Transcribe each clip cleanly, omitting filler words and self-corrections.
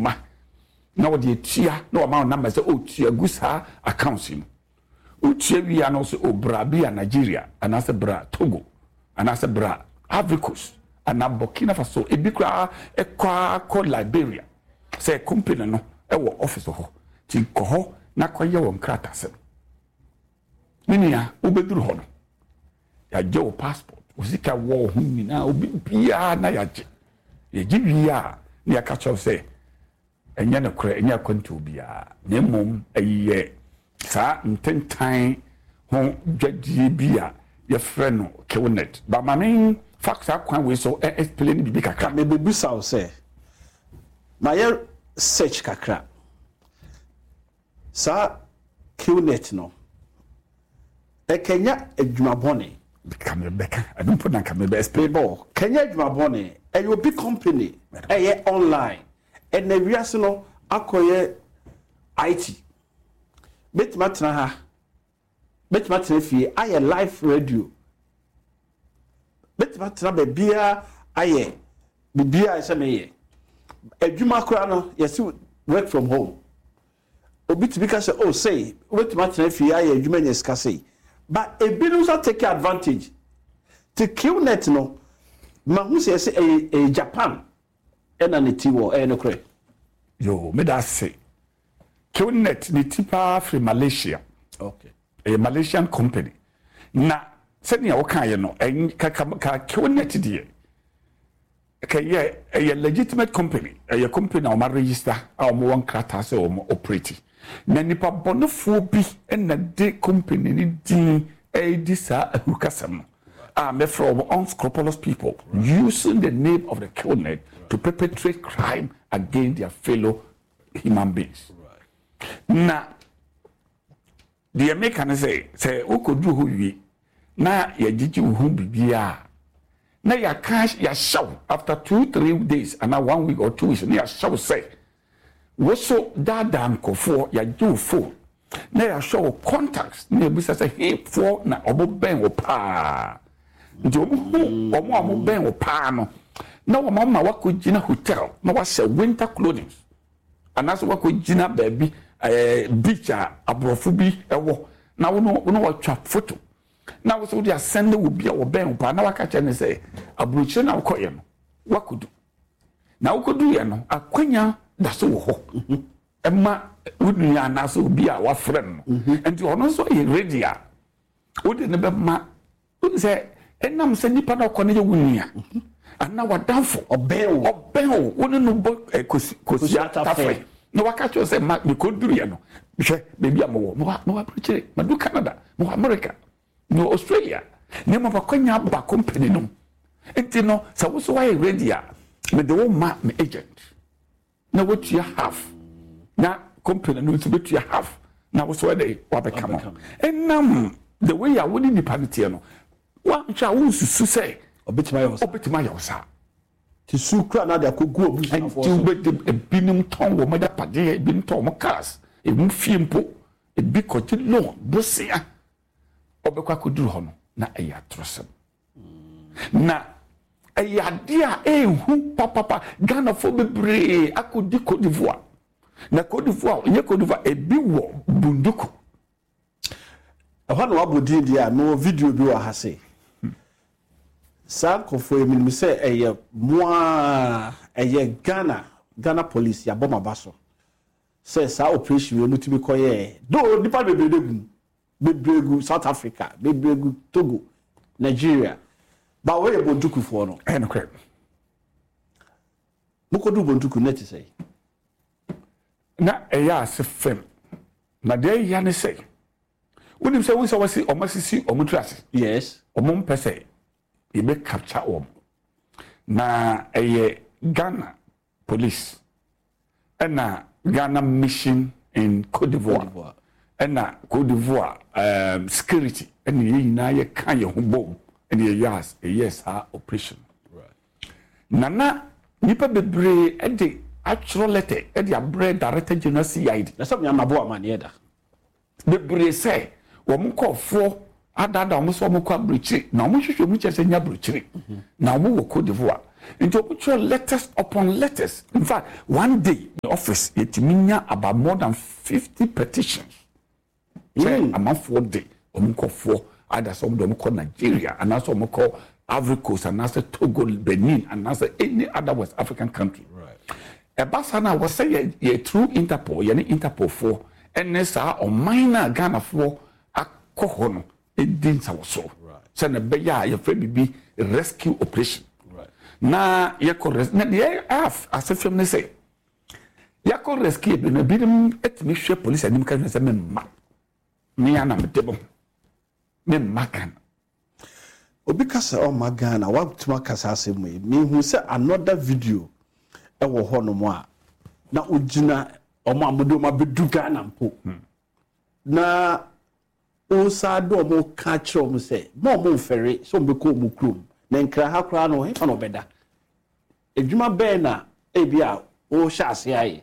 dwuma na wɔde atua na wɔama wo number sɛ ɔtua gu saa accounts yi mu. Wotua wie a na wɔsɛ o bra bi a Nigeria anaasɛ bra Togo anaasɛ bra Ivory Coast anaa Burkina Faso, ebi koraa ɛkɔ ara kɔ Liberia sɛ company no ɛwɔ office hɔ nti kɔ hɔ na kɔyɛ wɔn nkratasɛm. Me nua, wobɛduru hɔ no, yɛagye wo passport, wo sika wɔ wo ho nyinaa, obi biara na yɛagye. Yɛgye wie a, na yɛaka kyerɛ wo sɛ ɛnyɛ nokorɛ, ɛnyɛ akwantuo biara, na mmom ɛyɛ saa ntentan ho dwadie bi a yɛfrɛ no Qnet. Ba ma me fa saa kwan wei so explain biribi kakra. Mebɛbisa wo sɛ, mayɛ search kakra, Saa Qnet no, ɛkɛnya adwuma bɔne. Ka me bɛka, ɛno mpo na nka me bɛ explain. Mebɔ, kɛnyɛ adwuma bɔne, ɛyɛ obi company, ɛyɛ online, ɛnɛ wiase no akɔyɛ IT. Mɛtumi atena ha, mɛtumi atena fie ayɛ live radio, mɛtumi atena baabiara ayɛ biribiara ɛsɛ meyɛ. Adwuma koraa no, yɛsi work from home. Obi tumi ka sɛ, oh sei, wobɛtumi atena fie ayɛ adwuma anya sika sei. But ebinom nso take advantage. Te QNet no, mahu sɛ yɛsɛ ɛyɛ ɛyɛ Japan ɛna ne ti wɔ, ɛyɛ nokorɛ? Yoo, meda ase. QNet ne ti paa firi Malaysia. Okay. Ɛyɛ Malaysian company. Na sɛnea wokaeɛ no, ɛn, ka, ka, ka QNet deɛ, Kɛyɛ ɛyɛ legitimate company, ɛyɛ company a wɔn aregister a wɔn wɔ nkrataa sɛ wɔn operate. Na nipa bɔnefoɔ bi na de company no din redi saa ahurukasɛm no a mɛfrɛ wɔn unscrupulous people using the name of the Qnet to perpetrate crime against their fellow human beings. Na Deɛ meka ne sɛ, sɛ wokɔduru hɔ wie na yɛgyegye wo ho biribiara a, na yɛaka yɛahyɛ wo after 2, 3 days anaa one week or 2 weeks na yɛahyɛ wo sɛ wo so daadaa nkurɔfoɔ, yɛagye wo phone na yɛahwɛ wo contacts na yɛbisa sɛ hefoɔ na ɔmo bɛn wo paa. Nti ɔmo hu ɔmo a ɔmo bɛn wo paa no na wɔn ama wakɔgyina hotel na wahyɛ winter clothing anaasɛ wakɔgyina baabi beach a aborɔfo bi wɔ na wo no wo no watwa photo na wo sɛ wode asɛn ne wo bi a wɔbɛn wo paa na waka kyerɛ ne sɛ aburokyire na wokɔyɛ no wakɔdu na wokɔduyɛ no akwanya da so wɔ hɔ ɛma wo nua anaasɛ obi a wafrɛ no no. Nti ɔno nso yɛ ready a wode ne bɛma. Wonim sɛ ɛnam sɛ nipa na ɔkɔ no yɛ wo nua anaa w'adamfo, ɔbɛn wo, ɔbɛn wo, wo ne no bɔ kosua tafere na waka kyerɛ sɛ ma mekɔduruiɛ no, hwɛ baabi a mewɔ, mewɔ aburokyire, madu Canada, mewɔ America, mewɔ Australia, na mmom akwanya aba company no mu. Nti no sɛ wo so woayɛ ready a, mede wo ma me agent. Na wotua half na company no nso bɛtua half na wo so ɛdɛ wabɛka no. Ɛnam the way a wo ne nipa no teɛ no, woanhwɛ a wonsusu sɛ ɔbɛtumi ayɛ wo saa. Ɔbɛtumi ayɛ wo saa. Ti su kura na de akɔgu abusuafoɔ so. Nti wobɛde ebinom tɔn wɔn agyapadeɛ, ebinom tɔn wɔn cars, emu fie mpo, ebi kɔgye loan bosea, ɔbɛkɔ akɔduru hɔ no na ɛyɛ atorosɛm. Na ɛyɛ adeɛ a ɛnhu papapa. Ghanafoɔ bebree akɔdi Cote d'Ivoire. Na Cote d'Ivoire, ɛnyɛ Cote d'Ivoire, ebi wɔ Bunduku. Ɛhɔ na wabɔ din deɛ a, mewɔ video bi wɔ ha sei. Saa nkurɔfoɔ yi, menim sɛ ɛyɛ mo ara, ɛyɛ Ghana, Ghana police, yɛabɔ mo aba so sɛ saa operation wei motumi kɔyɛɛ. Though nnipa bebree na egu mu, bebree gu South Africa, bebree gu Togo, Nigeria, but wei yɛ Bontukufoɔ no. Ɛyɛ nokorɛ. Mokɔduu Bontuku no na ɛte sɛn? Na ɛyɛ ase fam. Na deɛ ɛya ne sɛ, wonim sɛ wohu sɛ wɔasi wɔn asisi wɔn tiri ase. Yes. Wɔn mpɛ sɛ yɛbɛ capture wɔn. Na ɛyɛ Ghana police ɛna Ghana mission in Cote d'Ivoire ɛna Cote d'Ivoire security ɛna yɛn nyinaa yɛka yɛn ho bom ɛna yɛyɛ yɛyɛ saa operation. Na na nipa bebree ɛde atwerɛ letter ɛde abrɛ Director General CID. Na sɛ mnyama bo amaneɛ da. Bebree sɛ wɔn nkurɔfoɔ adaadaa wɔn sɛ wɔn kɔ aburokyire na wɔn hwehwɛ mu kyerɛ sɛ nyɛ aburokyire na wɔn wɔ Cote d'Ivoire. Nti wɔn twerɛ letters upon letters. In fact, one day the office yɛtumi nya about more than 50 petitions sɛ amanfoɔ de wɔn nkɔfoɔ, either sɛ wɔn de wɔn kɔ Nigeria anaasɛ wɔn kɔ Ivory Coast anaasɛ Togo, Benin anaasɛ any other West African country. Ɛba saa na wɔsɛ yɛ through Interpol, yɛne Interpol foɔ ɛne saa ɔman no a Ghanafoɔ akɔ hɔ no di nsawɔsoɔ sɛ na ɛbɛyɛ a yɛfrɛ biribi rescue operation. Na yɛkɔ res na deɛ ase fam ne sɛ yɛakɔ rescue bi no, ebinom atumi hwɛ polisi anim ka sɛ memma me ana mede mo memma Ghana. Obi ka sɛ ɔmma Ghana, watumi aka saa asɛm yi. Mehu sɛ another video ɛwɔ hɔnom a na ogyina ɔmo a mode ɔmo abɛdu Ghana mpo na wosan de ɔmo ka kyerɛ ɔmo sɛ ma ɔmo mfɛre sɛ ɔmo bɛkɔ ɔmo kurom na Nkra ha koraa no, hefa na ɔbɛda? Adwuma bɛn na ebi a wɔhyɛ ase ayɛ?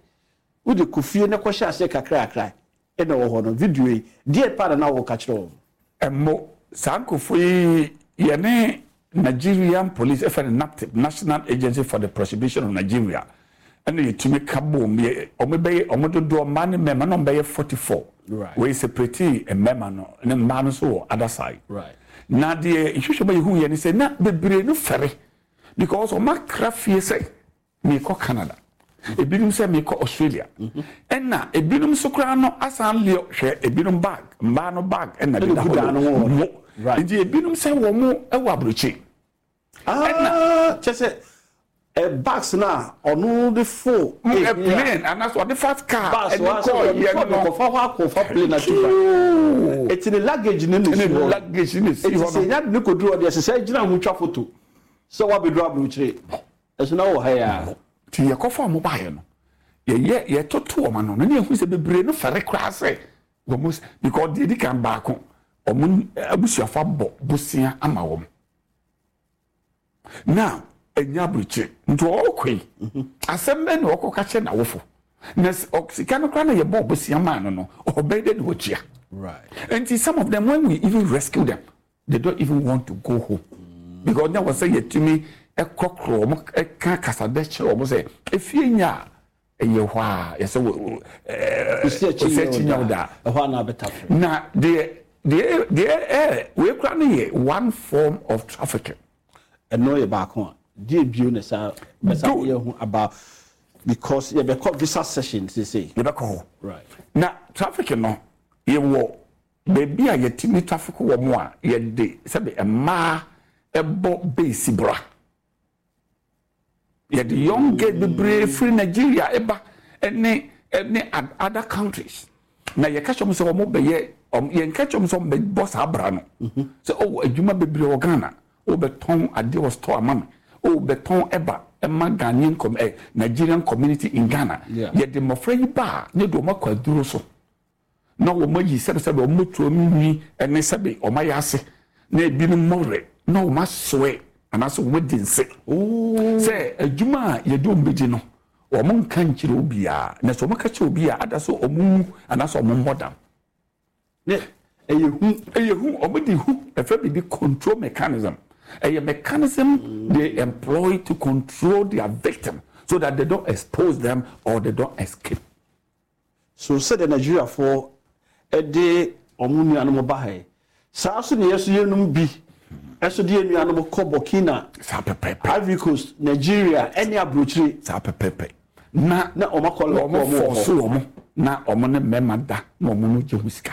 Wode kɔ fie na kɔhyɛ aseɛ kakrakra ɛna wɔ hɔ no. Video yi deɛ pa na na wɔka kyerɛ wɔn? Ɛmo saa nkurɔfoɔ yi, yɛne Nigerian Police, ɛfɛ no NAPTIP, National Agency for the Prohibition of Nigeria, ɛna yɛtumi ka bom. Yɛ ɔmo bɛyɛ, ɔmo dodoɔ, mmaa ne mmarima, na ɔmo bɛyɛ 44. Wɔyɛ separate mmarima no ne mmaa no nso wɔ other side. Na deɛ nhwehwɛ ma yɛhu yɛ ne sɛ na bebree no fɛre because ɔmo akra fie sɛ mekɔ Canada, ebinom sɛ mekɔ Australia, ɛna ebinom nso koraa no asan leɔ hwɛ ebinom bag, mmaa no bag ɛna deda hɔ no mo. Nti ebinom sɛ wɔn ɛwɔ aburokyi. Ɛna kyɛ sɛ ɛ bags na ɔno de fo plane anaasɛ ɔde fa car ɛde kɔɔ yɛ no. Kɔfa hɔ akɔfa plane atu ba, eti ne luggage ne na esi hɔ. Luggage ne si hɔ no. Eti sɛ nya de ne koduru hɔ deɛ, sɛ gyina ho twa photo sɛ wabɛduru aburokyire, ɛso na wɔ ha ya. Nti yɛkɔfa ɔmo baayɛ no, yɛyɛ yɛtoto ɔmo ano no ne yɛhu sɛ bebree no fɛre koraa sɛ wɔn, because deɛ di kan baako, ɔmo abusuafo abɔ bosia ama wɔn. Now ɛnya aburokyire nti ɔrekɔ yi, asɛm bɛn na ɔkɔka kyerɛ n'awofo? Na sika no koraa na yɛbɔ bosia maa no, ɔbɛyɛ dɛ na watua? Nti some of them, when we even rescue them, they don't even want to go home because na wɔ sɛ yɛtumi ɛkɔkorɔ wɔn, ɛka kasadɛ kyerɛ wɔn sɛ efie nya a ɛyɛ hɔ a yɛsɛ wɔ osi akyi nya wo da ɛhɔ a na abɛta. Na deɛ ɛɛ wei kora no yɛ one form of trafficking. Ɛno yɛ baako a deɛ bio na saa bɛsa yɛ ho about because yɛbɛkɔ visa session sese. Yɛbɛkɔ hɔ. Na trafficking no, yɛwɔ baabi a yɛtumi traffic wɔ mo a yɛde sɛbi mmaa ɛbɔ base bra. Yɛde young girl bebree firi Nigeria ɛba ɛne other countries na yɛka kyerɛ wɔn sɛ wɔn bɛyɛ wɔn, yɛnka kyerɛ wɔn sɛ wɔn bɛbɔ saa bra no sɛ oh, adwuma bebree wɔ Ghana, wɔbɛtɔn adeɛ wɔ store ama me, wɔbɛtɔn ɛba ɛma Ghanaian com Nigerian community in Ghana. Yɛde mmɔfra yi ba a, ne de wɔn akɔ aduro so na wɔn ayi sɛbesɛbe wɔn motuo no nwi ne sɛbe wɔn ayɛ ase na ebinom mmɔwerɛ na wɔn asoɛ anaasɛ wɔn adi nse sɛ adwuma a yɛde wɔn bɛgye no, wɔn nka nkyerɛ obiara, na sɛ wɔn ka kyerɛ obi a ada so wɔn wu anaasɛ wɔn mmɔ dam. Ne ɛyɛ hu. Ɛyɛ hu. Wɔn de hu, ɛfɛ biribi control mechanism. Ɛyɛ mechanism they employ to control their victim so that they don't expose them or they don't escape. So sɛdeɛ Nigeriafoɔ de wɔn nuanom ba ha yi, saa so ne yɛ so yɛnum bi ɛso de yɛn nuanom kɔ Burkina, Saa pɛpɛpɛ. Ivory Coast, Nigeria ɛne aburokyire. Saa pɛpɛpɛ na na wɔn akɔ wɔn wɔn wɔ fɔɔso wɔn na wɔn ne mmarima da na wɔn no gye ho sika.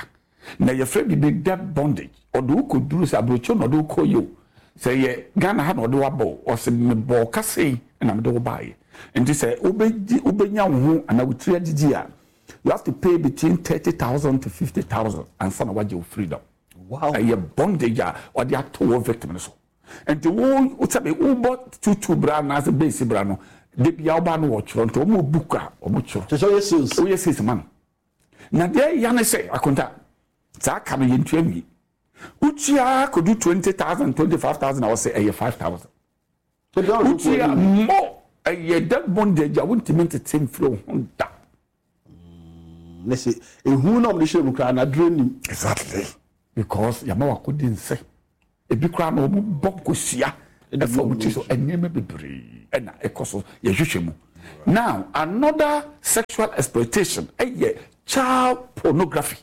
Na yɛfrɛ biribi debt bondage. Ɔde wo kɔduru sɛ aburokyire na ɔde wo kɔ yi o, sɛ yɛ Ghana ha na ɔde wo abɔ o, ɔsɛ mebɔɔ kasa yi na mede wo baayɛ. Nti sɛ wobɛgye, wobɛnya wo ho anaa wo tiri agyegye a, you have to pay between 30,000 to 50,000 ansa na wagye wo freedom. Ɛyɛ bondage a ɔde ato wɔ victim no so. Nti wo sɛbi wobɔ tutu bra anaasɛ base bra no, de bia woba no wɔtwerɛ, nti wɔn book a wɔn twerɛ. Kyerɛ sɛ ɔyɛ sales. Woyɛ sales ma no. Na deɛ ɛya ne sɛ akonta saa ka no yɛntua nwie. Wotua kɔdu 20,000, 25,000 a, wɔsɛ ɛyɛ 5,000. Wotua mmɔ. Ɛyɛ debt bondage a wontumi ntete mfiri wo ho da. Ne sɛ ehu na ɔmo de hyɛ mu koraa na aduro nim. Exactly, because yàmà wakɔdi nse ebi koraa na wɔn bɔ nkosua. Ɛfa wɔn ti so nneɛma bebree ɛna ɛkɔ so yɛhwehwɛ mu. Now another sexual exploitation ɛyɛ child pornography.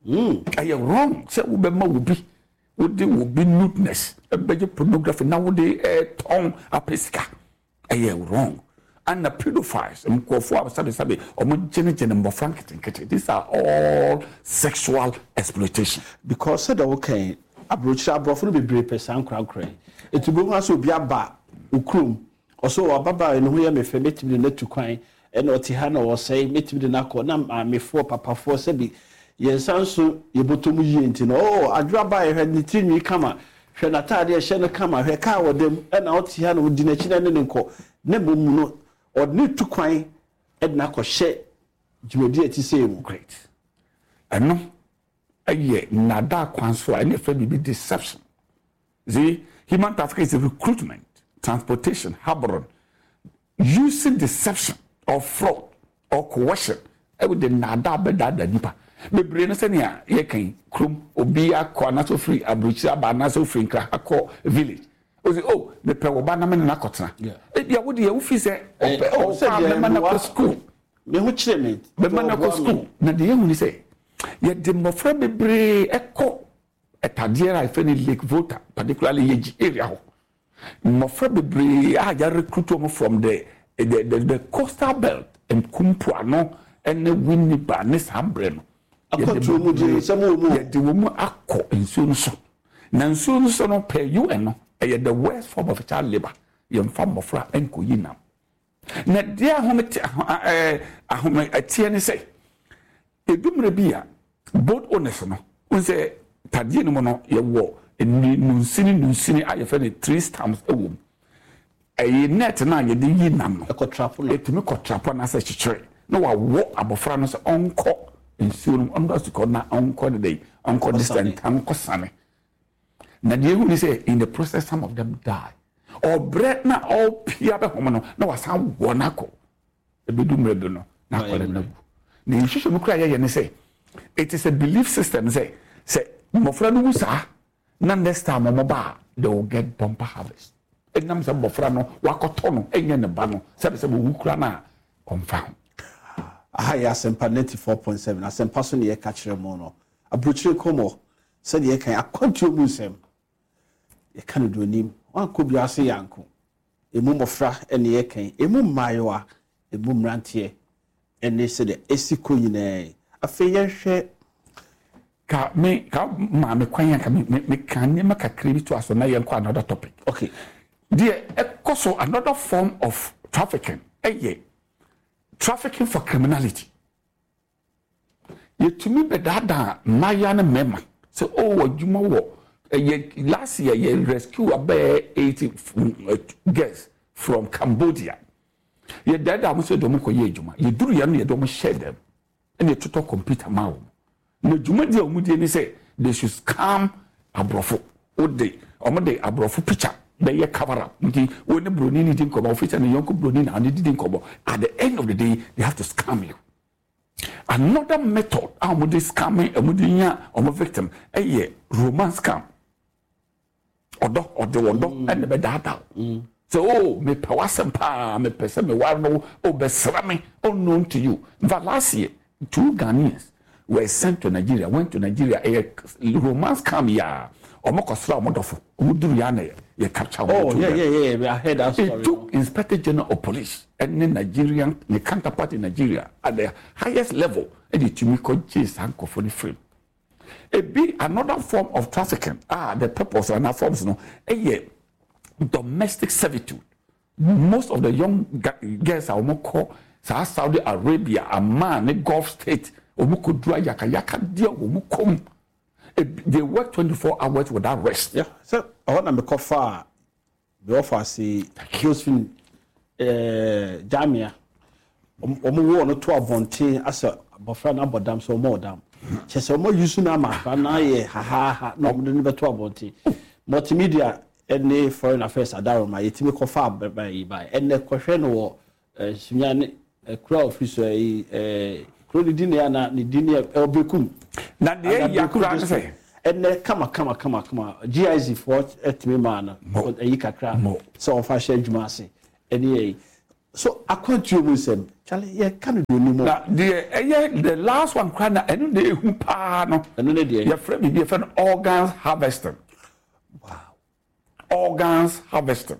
Ɛyɛ wrong sɛ wobɛma obi wode obi nudeness ɛbɛgye pornography na wode ɛtɔn apɛ sika. Ɛyɛ wrong. Ɛna pedophiles nkurɔfoɔ a sɛbesɛbe wɔn gyenegyene mmɔfra nketenkete, these are all sexual exploitation. Because sɛdeɛ woka yi, aburokyire aborɔfo no bebree pɛ saa nkorankora yi. Enti wobɛhu ara sɛ obi aba wo kurom, ɔsɛ oh ababaawa yi ne ho yɛ me fɛ, mɛtumi de no atu kwan, ɛna ɔte ha na ɔresɛe, mɛtumi de no akɔ, na maamefoɔ, papafoɔ sɛbi yɛn nsa nso yɛ bɔtɔ mu yie nti no, oh adwo abaayewa hwɛ ne tiri nwi kama, Hwɛ n'atade a ɛhyɛ no kama, hwɛ kaa a ɔda mu, ɛnna ɔte ha na odi n'akyi na ɛne no nkɔ, na mmom no, ɔde no retu kwan de no akɔhyɛ dwumadi a ɛte sei mu. Great. Ɛno yɛ nnaadaa kwan so a ɛne yɛfrɛ biribi deception. See, human trafficking is recruitment, transportation, harboring, Using deception or fraud or coercion de nnaadaa bɛdaadaa nnipa bebree no sɛnea yɛka yi kurom obi akɔ anaasɛ ofiri aburokyiri aba anaasɛ ofiri Nkran akɔ village ɔsi oh mepɛ wo ba na me ne no akɔtena ebia wo deɛ wofi sɛ ɔpɛ ɔkɔ a mɛma no akɔ school me ho kyerɛ me mɛma no akɔ school na deɛ yɛhu ne sɛ yɛde mmɔfra bebree ɛkɔ ɛtadeɛ a yɛfrɛ no Lake Volta particularly Yeji area hɔ Mmɔfra bebree a yɛ recruit wɔn from the the the the coastal belt, Nkumpoano ne Winneba ne saa berɛ no. Akwantuo mu deɛ nsɛm wɔ mu o. Yɛde wɔn akɔ nsuo no so. Na nsuo no so no per UN no, ɛyɛ the worst form of child labour. Yɛmfa mmɔfra nkɔyi nam. Na deɛ ahomete ɛɛ ahometeɛ ne sɛ, ɛdu mmerɛ bi a, boat owners no, wohu sɛ tadeɛ no mu no, yɛwɔ nnunsini nnunsini a yɛfrɛ no tree stumps wɔ mu. Ɛyɛ net no a yɛde yi nam no, ɛtumi kɔtrapo anaasɛ kyekyere na wawɔ abɔfra no sɛ ɔnkɔ nsuo no mu, ɔnkɔ asukɔ na ɔnkɔ ne dɛn, ɔnkɔ distant, ɔnkɔ sane. Na deɛ ehu ne sɛ in the process some of them die. Ɔbrɛ na ɔpia bɛhom no na wasan wɔ no akɔ. Ebedu mmerɛ bi no na akwadaa no awu. Na nhwehwɛmu koraa yɛyɛ ne sɛ it is a belief system sɛ sɛ mmɔfra no wu saa na next time wɔn ba a they will get bumper harvest. Ɛnam sɛ mmɔfra no wakɔtɔ no ɛnyɛ ne ba no sɛbe sɛ wɔwu koraa no a ɔmfa ho. Aha yɛ Asɛmpa 94.7, Asɛmpa so na yɛka kyerɛ mo no. Aburokyire nkɔmmɔ, sɛdeɛ yɛka yi, akwantuo mu nsɛm, yɛka no deɛ ɔnim. Wankɔ biara se yɛanko. Ɛmu mmɔfra ne yɛka yi, ɛmu mmaayewa, ɛmu mmeranteɛ ne sɛdeɛ ɛsi kɔ nyinaa yi. Afei yɛnhwɛ. Ka me ka maa me kwan a ka me me me ka nneɛma kakra bi to aso na yɛnkɔ another topic. Okay. Deɛ ɛkɔ so another form of trafficking ɛyɛ trafficking for criminality. Yɛtumi bɛdaadaa mmaayewa ne mmarima sɛ oh adwuma wɔ yɛ last year yɛ rescue abɛɛ 80 girls from Cambodia. Yɛdaadaa wɔn sɛ yɛde wɔn kɔyɛ adwuma. Yɛduru yɛn no yɛde wɔn hyɛɛ dɛm ɛna yɛtotɔ computer maa wɔn. Na dwumadi a wɔn die ne sɛ they should scam aborɔfo. Wode wɔn de aborɔfo picture bɛyɛ cover up nti wo ne broni ne di nkɔmɔ ofi sɛ ne yɔnko broni na ɔne didi nkɔmɔ at the end of the day they have to scam you. Another method a wɔde scam wɔde nya wɔn victim yɛ romance scam. Ɔdɔ ɔde ɔdɔ mm. ɛna bɛdaadaa wo. Mm. Sɛ o oh, mepɛ w'asɛm paa mepɛ sɛ meware no o bɛsra me unknown to you. In fact last year two Ghanaians were sent to Nigeria went to Nigeria ɛyɛ romance scam yaa wɔn kɔsra wɔn dɔfo wɔn duru yaa na yɛ capture wɔn. Oh yeah yeah yeah I heard that story. It took Inspector General of Police ɛne Nigerian ne counterpart in Nigeria at the highest level ɛde tumi kɔ gye saa nkurɔfoɔ no firi mu. Ebi another form of trafficking a the purpose anaa forms no ɛyɛ domestic servitude. Most of the young girls a wɔn kɔ saa Saudi Arabia, Amman ne Gulf state wɔn kɔ duru ayakayakadeɛ wɔn kɔ mu. They work 24 hours without rest. Yeah, sɛ ɛhɔ na mekɔ faa Me wɔfa ase Josephine eh, Jamia. Wɔn wɔ no to abɔnten asɛ abɔfra no abɔ dam sɛ wɔn ɔdam. Kyɛ sɛ wɔn ayi so no ama akora no ayɛ hahaha na wɔn de no bɛto abɔnten. Multimedia ne Foreign Affairs Adaroma yɛtumi kɔfa ababa yi bae. Ɛnɛ kɔhwɛ no wɔ Sunyani kuro a ɔfiri so yi kuro ne din yɛ ana ne din yɛ ɛwɔ Berekum. Na deɛ ɛyɛ koraa ne sɛ. Ɛnɛ kama kama kama kama GIZ foɔ ɛtumi maa no ɛyi kakra sɛ ɔfa hyɛ adwuma ase ɛne ɛyi so akwantuo mu nsɛm kyale yɛ ka no deɛ onim. Na deɛ ɛyɛ the last one koraa na ɛno na ehu paa no. Ɛno ne deɛ. Yɛfrɛ biribi yɛfrɛ no organs harvesting. Wow. Organs harvesting.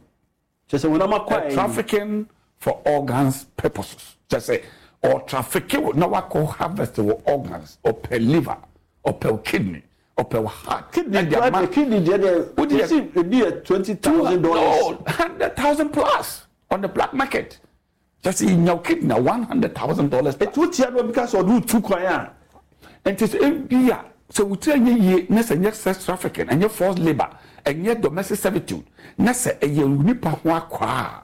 Kyerɛ sɛ honam akwaa yi. Trafficking for organs purposes. Kyerɛ sɛ ɔtrafficke wo na wakɔ harvest wɔ organs, ɔpɛ liver, ɔpɛ wo kidney, ɔpɛ wo heart. Kidney deɛ deɛ kidney deɛ deɛ wosi ebi yɛ $20,000. No, 100,000 plus on the black market. Kyerɛ sɛ yɛnya wo kidney a $100,000. Eti wo tia na obi ka sɛ ɔde wo tu kwan a. Nti sɛ ebia sɛ wo tiri anyɛ yie na sɛ ɛnyɛ sex trafficking, ɛnyɛ forced labour, ɛnyɛ domestic servitude na sɛ ɛyɛ onipa ho akwaa a.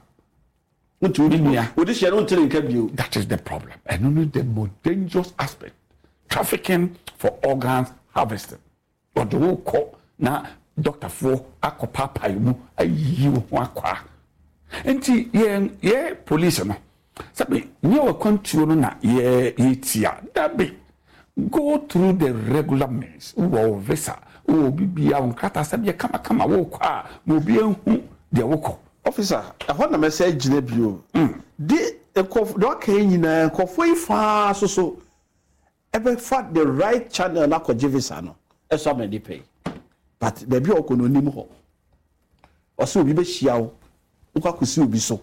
Wonti wo nua. Wode hyɛ no wonte ne nka bio. That is the problem. Ɛno ne the most dangerous aspect. Trafficking for organs harvesting. Wɔde wo rekɔ na dɔktafoɔ akɔpaapae mu ayiyi wo ho akwaa. Nti yɛn yɛ police no, sɛbi nyɛ w'akwantuo no na yɛ yɛtia. Dabi, go through the regular means. Wowɔ wo visa, wowɔ biribiara, wo nkrataa sɛbi yɛ kamakama, wokɔ a ma obi nhu deɛ wokɔ. Officer, ɛhɔ na mɛsan agyina bio. De nkurɔfo, deɛ waka yi nyinaa, nkurɔfoɔ yi faa so so ɛbɛfa the right channel no akɔgye visa no ɛso ama nipa yi but baabi a ɔkɔ no onim hɔ ɔsɛ obi bɛhyia wo wokɔ akɔsi obi so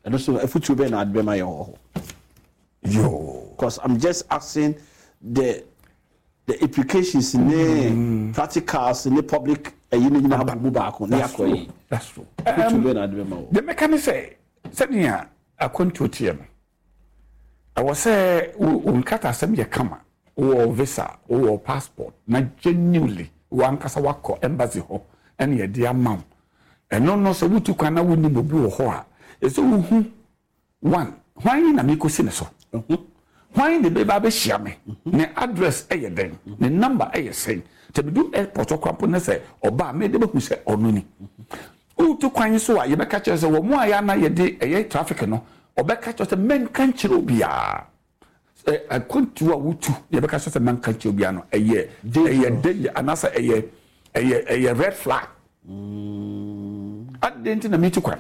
ɛno so afutuo bɛn na ade bɛma yɛ wɔ hɔ yoo cause I'm just asking the implications ne practicals ne public ɛyi no nyinaa bɔ mu baako ne akɔ yi that's true afutuo bɛn na ade bɛma wɔ deɛ mɛka ne sɛ sɛnea akwantuo teɛ no Ɛwɔ sɛ wo nkratasɛm yɛ kama, wowɔ visa, wowɔ passport na genuinely w'ankasa woakɔ embassy hɔ na yɛde ama wo. Ɛno no sɛ wotu kwan na wonnim obi wɔ hɔ a, ɛsɛ sɛ wohu one, hwan na merekɔsi ne so? Hwan na ɛbɛba abɛhyia me? Ne address yɛ dɛn? Ne number yɛ sɛn? Sɛ medu airport hɔ koraa mpo na sɛ ɔba a, mɛyɛ dɛ mahu sɛ ɔno ni. Woretu kwan nso a, yɛbɛka kyerɛ sɛ wɔn a yɛ a na yɛde ɛyɛ traffic no, wɔbɛka kyerɛ sɛ mɛnka nkyerɛ obiara. Sɛ akwantuo a wotu yɛbɛka kyerɛ sɛ mɛnka nkyerɛ obiara no, ɛyɛ ɛyɛ danger anaasɛ ɛyɛ ɛyɛ ɛyɛ red flag. Adɛn nti na metu kwan?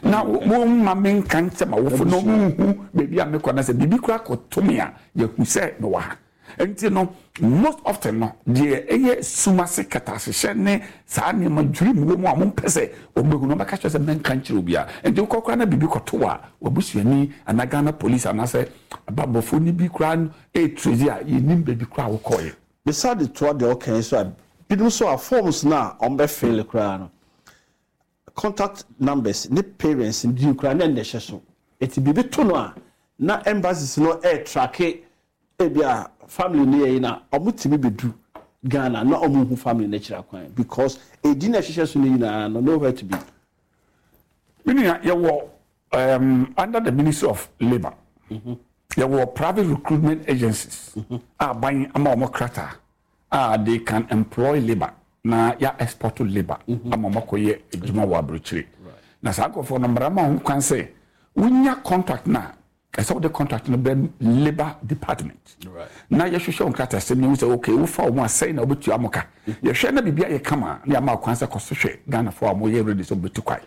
Na wɔmma menka nkyɛ m'awofo na wɔnhu baabi a mekɔ na sɛ biribi koraa kɔto me a, yɛahu sɛ mewɔ ha. Nti no, most often no, deɛ ɛyɛ sum ase kɛtɛasehyɛ ne saa nneɛma dwirim wɔ mu a wɔmpɛ sɛ wɔbɛhu no, wɔbɛka kyerɛ sɛ mɛnka nkyerɛ obiara. Nti wokɔ koraa na biribi kɔto wo a, w'abusuani anaa Ghana police anaasɛ bammɔfoɔ no bi koraa no ɛretrace a, yɛnnim baabi koraa a wokɔeɛ. Mesan de toa deɛ woka yi so a, binom nso a forms no a wɔbɛ fill koraa no, contact numbers ne parents din koraa na ɛna ɛhyɛ so. Nti biribi to no a, na embassies no ɛretracke ebia family no yɛ yi na ɔmo tumi bɛdu Ghana na ɔmo nhu family no akyiri akwan because edin a ɛhyehyɛ so no nyinaa no nowhere to be. Me nua yɛwɔ um, under the Ministry of Labour yɛwɔ private recruitment agencies a aban ama wɔn krataa a they can employ labour na yɛ export labour ama wɔn akɔyɛ adwuma wɔ aburokyire na saa nkurɔfoɔ no mmara ma wɔn kwan sɛ wonya contract no a ɛsɛ wode contract no brɛ labour department na yɛhwehwɛ wo nkratasɛm no hu sɛ okay wofa wɔn a sɛn na wobɛtua mo ka yɛhwɛ na biribi ayɛ kama na yɛama wo kwan sɛ kɔ so hwɛ Ghanafoɔ a wɔyɛ ready sɛ wɔbɛtu kwan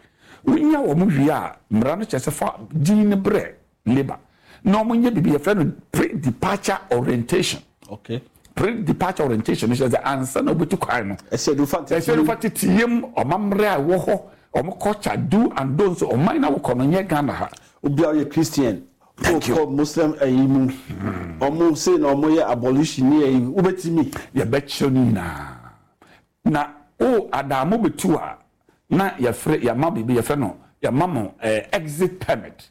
wonya wɔn wie a mmara no kyerɛ sɛ fa din no brɛ labour na wɔn nyɛ biribi yɛfrɛ no pre-departure orientation okay. Pre-departure orientation no kyerɛ sɛ ansa na wobɛtu kwan no ɛsɛ ɛsɛ fa teteyam ɔmammerɛ a ɛwɔ hɔ wɔn culture do and don'ts ɔman na wokɔ no nyɛ Ghana ha. Obi a ɔyɛ Christian wokɔ Muslim ayi mu ɔmo sei na ɔmo yɛ abolition ne ayi wobɛtumi. Yɛbɛkyerɛ no nyinaa na o adaamo bɛtu a na yɛfrɛ yɛama biribi yɛfrɛ no yɛama mo exit permit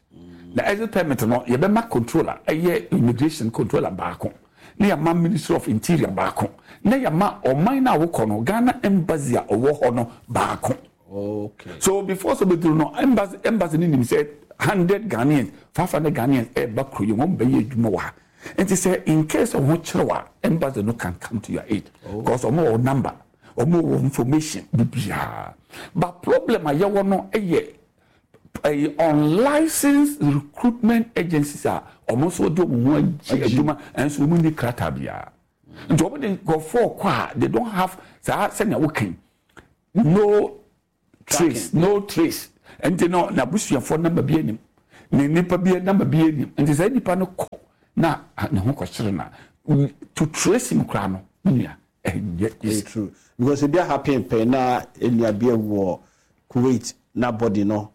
na exit permit no yɛbɛma controller ɛyɛ immigration controller baako na yɛama Ministry of Interior baako na yɛama ɔman no a wokɔ no Ghana embassy a ɔwɔ hɔ no baako. Okay. So before so bɛduru no embassy no nim sɛ 100 Ghanaians 500 Ghanaians ɛreba kuro yi wɔn bɛyɛ adwuma wɔ ha nti sɛ in case ɔho kyerɛw a embassy no can come to your aid because ɔmo wɔ number ɔmo wɔ information bibiara but problem a yɛwɔ no yɛ ɛyɛ unlicensed recruitment agencies a ɔmo nso de ɔmo ho agye adwuma ɛnso ɔmo nni krataa biara. Nti wɔn de nkurɔfoɔ kɔ a, they don't have saa sɛnea woka yi, no trace, no trace. Nti no n'abusuafoɔ namba bi anim, ne nipa bi namba bi anim. Nti saa nipa no kɔ na ne ho kɔkyere na to trace him koraa no, me nua, ɛnyɛ easy. True, because ebi ahappen pɛn na enua bi awu wɔ Kuwait na body no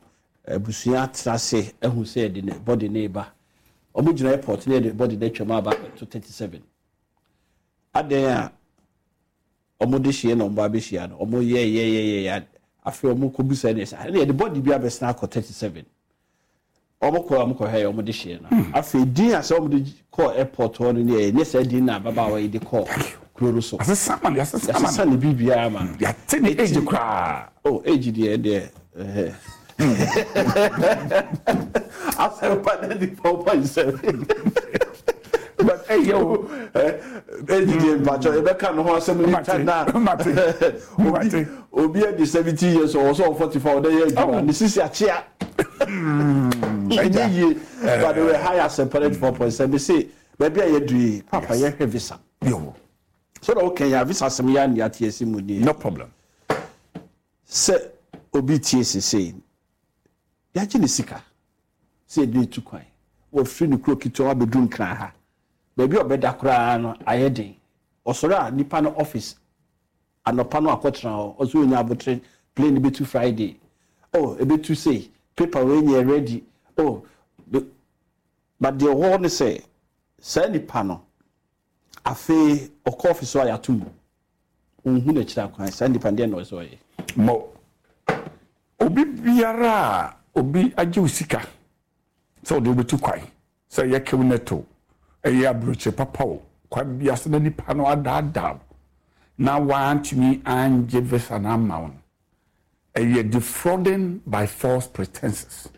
abusua tena ase ahu sɛ yɛde ne body no reba. Wɔn gyina airport na yɛde body no atwam aba abɛto 37. Adɛn a wɔn de hyia na wɔn ba abɛhyia no, wɔn yɛ yɛ yɛ yɛ yɛ afei wɔn kɔ bisa ne sɛ ɛna yɛde body bi abɛsena akɔ 37. Wɔn kɔ a wɔn kɔ hwɛ yɛ wɔn de hyia no. Afei din a sɛ wɔn de kɔɔ airport hɔ no ne yɛ nyɛ saa din na ababaawa yi de kɔɔ kuro no so. Yɛasesa ma no, yɛasesa ma no. Yɛasesa ne biribiara ma no. Yɛate ne age koraa. Oh, age deɛ ɛdeɛ ɛhɛ. Asɛmpa 94.7. But ɛyɛ o. Age deɛ mpakyɛ yɛbɛka ne ho asɛm later na. Mate. Obi obi adi 70 years ɔwɔ sɛ ɔwɔ 45 ɔdɛ yɛ adwuma ne sisi akyea. Ɛnyɛ yie. By the way, hi Asɛmpa 94.7 se baabi a yɛadu yi papa yɛhwɛ visa. Yo. So na woka yi a visa asɛm yɛ a ate asi mu nie. No problem. Sɛ obi tie sesei, yɛagye ne sika sɛ yɛde no tu kwan, wafiri ne kuro ketewa abɛduru Nkran ha, baabi a ɔbɛda koraa no ayɛ den. Ɔsɔre a nipa no office anɔpa no akɔtena hɔ, ɔsɛ ɔnya abotere, plane no bɛtu Friday, oh ɛbɛtu sei, paper wei nyɛ ready, oh but deɛ ɛwɔ hɔ ne sɛ saa nipa no afei ɔkɔ office hɔ a yɛato mu. Ɔnhu n'akyiri akwan. Saa nipa no deɛn na ɔsɛ sɛ ɔyɛ? Mo. Obi biara a obi agye wo sika sɛ ɔde wo bɛtu kwan, sɛ ɛyɛ Kewnet o, ɛyɛ aburokyire papa o, kwan biara so na nipa no adaadaa wo na wantumi angye visa no amma wo no, Ɛyɛ defrauding by false pretenses.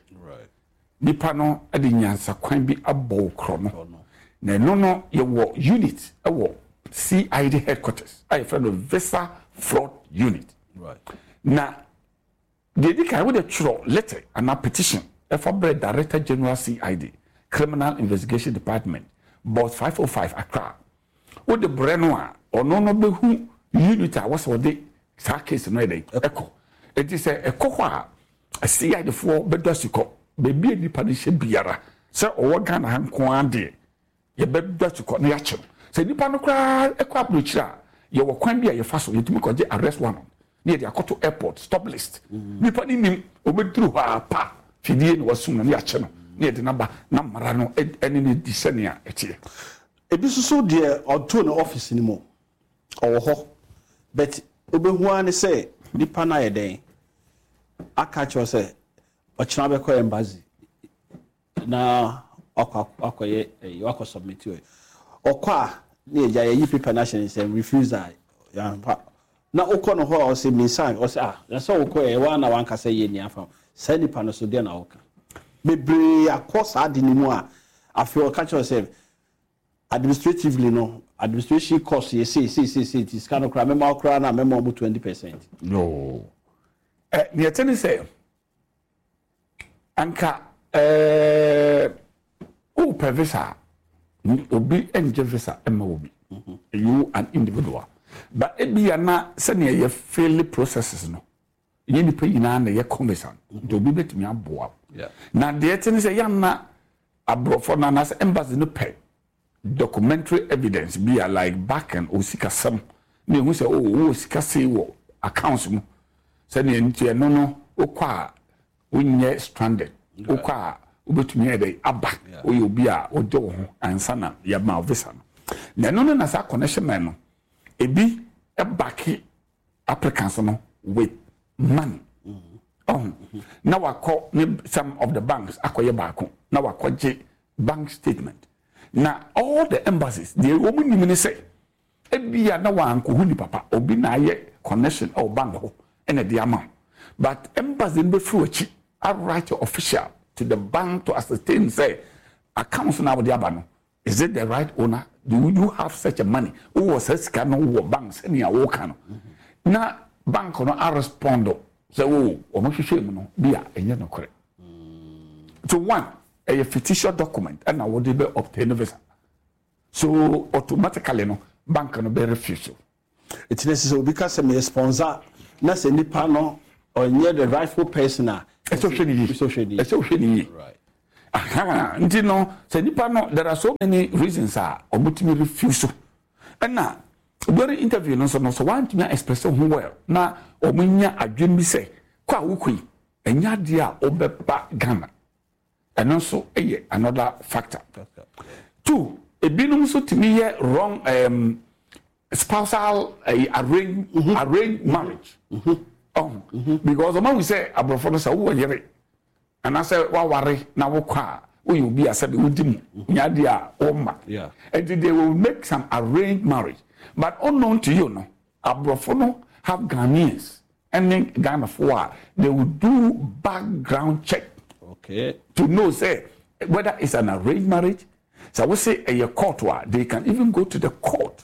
Nipa no de nyansakwan bi abɔ wo korɔ no. Na ɛno no yɛwɔ unit wɔ CID headquarters a yɛfrɛ no Visa Fraud Unit. Na deɛ ɛdi kan wode twerɛ letter anaa petition ɛfa brɛ Director General CID, Criminal Investigation Department, Box 505 Accra. Wode brɛ no a, ɔno no bɛhu unit a wɔsɛ ɔde saa case no yɛ dɛn ɛkɔ. Enti sɛ ɛkɔ hɔ a, CID foɔ bɛdɔ asukɔ. Baabi a nipa no hyɛ biara, sɛ ɔwɔ Ghana ha nko ara deɛ, yɛbɛdɔ asukɔ na yɛakye no. Sɛ nipa no koraa kɔ aburokyire a, yɛwɔ kwan bi a yɛfa so, yɛtumi kɔgye arrest warrant na yɛde akɔto airport stop list. Nipa no nim, ɔbɛduru hɔ ara pa, fidie na wasum no na yɛakye no na yɛde no aba na mmara no ne no adi sɛnea ɛteɛ. Ebi nso so deɛ ɔtoo no office no mu ɔwɔ hɔ but wobɛhu ara ne sɛ nipa no ayɛ dɛn aka akyerɛ wo sɛ ɔkyena bɛkɔ embassy na wakɔ akɔyɛ ɛyi wakɔ submit ɛ ɔkɔ a ne yɛgya yɛyi paper no ahyɛ ne nsam refusal yɛamfa na wokɔ no hɔ a ɔsɛ mensan ɔsɛ ah na sɛ wokɔ yɛ waa na wankasa yɛ ni afa saa nipa no so deɛ na woka bebree akɔ saa de no mu a afei ɔka kyerɛ sɛ administratively no administration cost yɛ sei sei sei sei nti sika no koraa mɛma wo koraa na mɛma ɔmo 20%. No. Ɛ nea ɛte ne sɛ anka ɛɛ wopɛ visa a obi ngye visa mma obi. You an individual. But ebia na sɛnea yɛ fill processes no Ɛnyɛ nnipa nyinaa na ɛyɛ conversant, nti obi bɛtumi aboa wo. Na deɛ ɛte ne sɛ yɛanna aborɔfo no anaasɛ embassy no pɛ documentary evidence bi a like backing o sikasɛm na ɛhu sɛ oh wowɔ sika sei wɔ accounts mu sɛdeɛ nti ɛno no wokɔ a wonyɛ stranded, wokɔ a wobɛtumi ayɛ dɛ aba, woyɛ obi a wogye wo ho ansa na yɛma wo visa no. Na ɛno no na saa connection man no ebi backe applicants no with money ɔho na wakɔ ne some of the banks akɔyɛ baako na wakɔgye bank statement na all the embassies deɛ wɔn nim ne sɛ ebia na wankohu nipa pa obi na ayɛ connection ɛwɔ bank hɔ ɛna ɛde ama but embassy no bɛfiri akyi a write official to the bank to ascertain sɛ accounts na wɔde aba no Is it the right owner? Do you have such a money? Wowɔ saa sika no wɔ bank sɛnea woka no? Na bank no arespond sɛ o wɔn hwehwɛ mu no bi a ɛnyɛ nokorɛ. So one, ɛyɛ fictitious document ɛna wɔde bɛ obtain visa. So automatically no, bank no bɛ refuse. Eti na sɛ obi ka sɛ meyɛ sponsor na sɛ nipa no ɔnyɛ the rightful person a. Ɛsɛ ɔhwɛ ne yie. Ɛsɛ ɔhwɛ ne yie. Ɛsɛ ɔhwɛ ne yie. Aha nti no sɛ nipa no, there are so many reasons a wɔtumi refuse. Ɛna during interview no nso no, sɛ wantumi a express ho well na wɔn nya adwene bi sɛ kɔ a wokɔ yi ɛnyɛ adeɛ a wɔbɛba Ghana, ɛno nso yɛ another factor. Two, ebinom nso tumi yɛ wrong spousal arrange arrange marriage. Ɔho because ɔmo ahu sɛ aborɔfo no sɛ wowɔ yere anaasɛ waware na wokɔ a, woyɛ obi a sɛbi wodi mu nyɛ adeɛ a wɔmma, nti they will make some arranged marriage, but unknown to you no, aborɔfo no have Ghanaians ɛne Ghanafoɔ a they will do background check to know say whether it's an arranged marriage. Sɛ wose ɛyɛ court a, they can even go to the court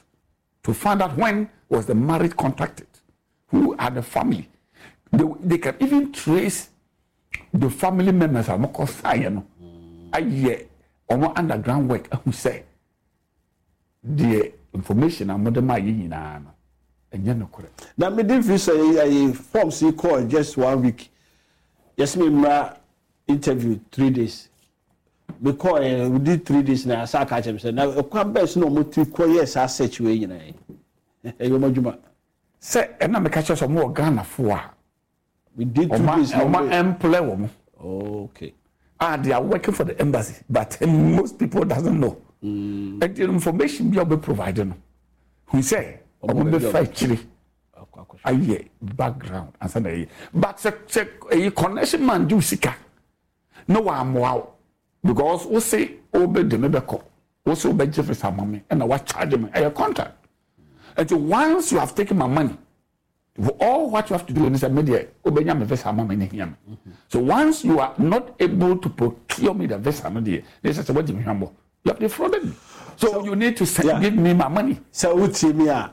to find out when was the marriage contracted, who are the family. They can even trace the family members a wɔkɔ saeɛ no, ayɛ wɔn underground work ahu sɛ deɛ information a wɔde maa yɛ nyinaa no ɛnyɛ nokorɛ. Na mede visa yi ayi forms yi kɔɔ just one week, yɛsɛ me mmra interview 3 days. Mekɔɔ yɛ within 3 days na asa aka kyerɛ me sɛ na ɛkwan bɛɛ so na wɔn ti kɔ yɛ saa search wei nyinaa yi, ɛyɛ wɔn adwuma. Sɛ ɛna meka kyerɛ sɛ ɔmo wɔ Ghanafoɔ a within 2 days na ɔma employ wɔn. Ah, they are working for the embassy, but most people doesn't know. Nti information bi a wɔbɛ provide no, hu sɛ ɔmo bɛfa akyire ayɛ background ansa na ɛyɛ. But sɛ ɛyɛ connection man gye wo sika na wammoa wo, because wo se wobɛde me bɛkɔ, wo se wobɛgye visa ma me, ɛna wa charge me, ɛyɛ contract. Nti once you have taken my money, all what you have to do is sɛ me deɛ wobɛnya me visa ama me ne hia me. So once you are not able to procure me the visa no deɛ, ne sɛ wagye me hwammɔ, you have defrauded me, so you need to send, give me my money. Sɛ wotie mi a,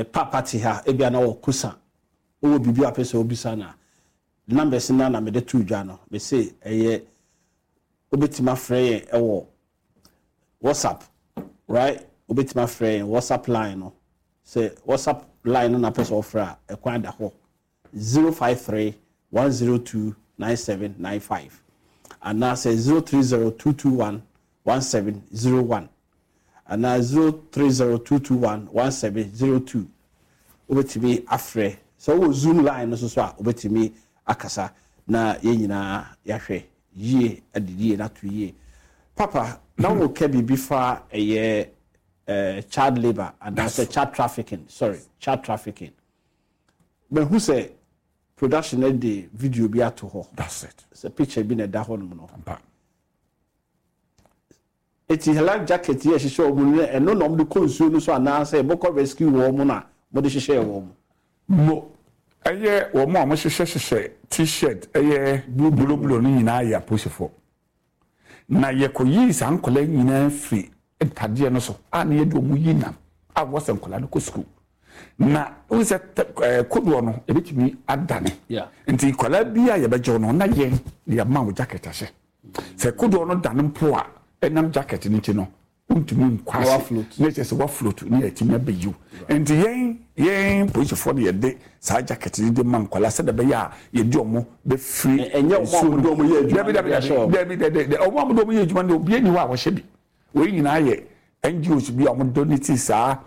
papa te ha, ebia na wɔ kusa wowɔ biribi a pɛ sɛ wobisa no a, numbers no na mede to dwa no. Mese ɛyɛ wobɛtumi afrɛ yɛn ɛwɔ WhatsApp, right? Wobɛtumi afrɛ yɛn WhatsApp line no. Sɛ WhatsApp line no na pɛ sɛ wɔfrɛ a, ɛkwan da hɔ: 053 102 9795 anaasɛ 030 221 1701 anaa 030 221 1702. Wobɛtumi afrɛ. Sɛ wowɔ Zoom line no so so a, wobɛtumi akasa na yɛn nyinaa yɛahwɛ yie ade yie na ato yie. Papa, na woka biribi fa ɛyɛ child labour anaasɛ child trafficking, sorry, child trafficking. Mahu sɛ production no de video bi ato hɔ. That's it. Sɛ picture bi na ɛda hɔ nom no. Ampa. Eti life jacket yi a ɛhyehyɛ wɔn no, ɛno na wɔde kɔ nsuo no so anaasɛ ɛbɛkɔ rescue wɔn na wɔde hyehyɛ wɔn? Mo ɛyɛ wɔn a wɔhyehyɛ hyehyɛ T-shirt ɛyɛ blue blue no nyinaa yɛ apolisifoɔ, na yɛkɔyii saa nkwadaa yi nyinaa firi ntadeɛ no so a na yɛde wɔn yi nam a wɔsɛ nkwadaa no kɔ sukuu, na wohu sɛ kodoɔ no ebɛtumi adane, nti nkwadaa bi a yɛbɛgye no na yɛn yɛma wo jacket ahyɛ. Sɛ kodoɔ no dane mpo a, ɛnam jacket no nti no, wontumi nkɔ ase na kyerɛ sɛ wafloat ne yɛatumi abɛyiw. Nti yɛn polisifoɔ no yɛde saa jacket no de ma nkwadaa sɛdeɛ ɛbɛyɛ a yɛde ɔmo bɛfiri. Ɛnyɛ ɔmo a wɔde ɔmo yɛ adwuma? Dabi, dabi, dabi, dabi, dabi, ɔmo a wɔde ɔmo yɛ adwuma no, obiara ni hɔ a wɔhyɛ bi. Wei nyinaa yɛ NGOs bi a wɔn donate saa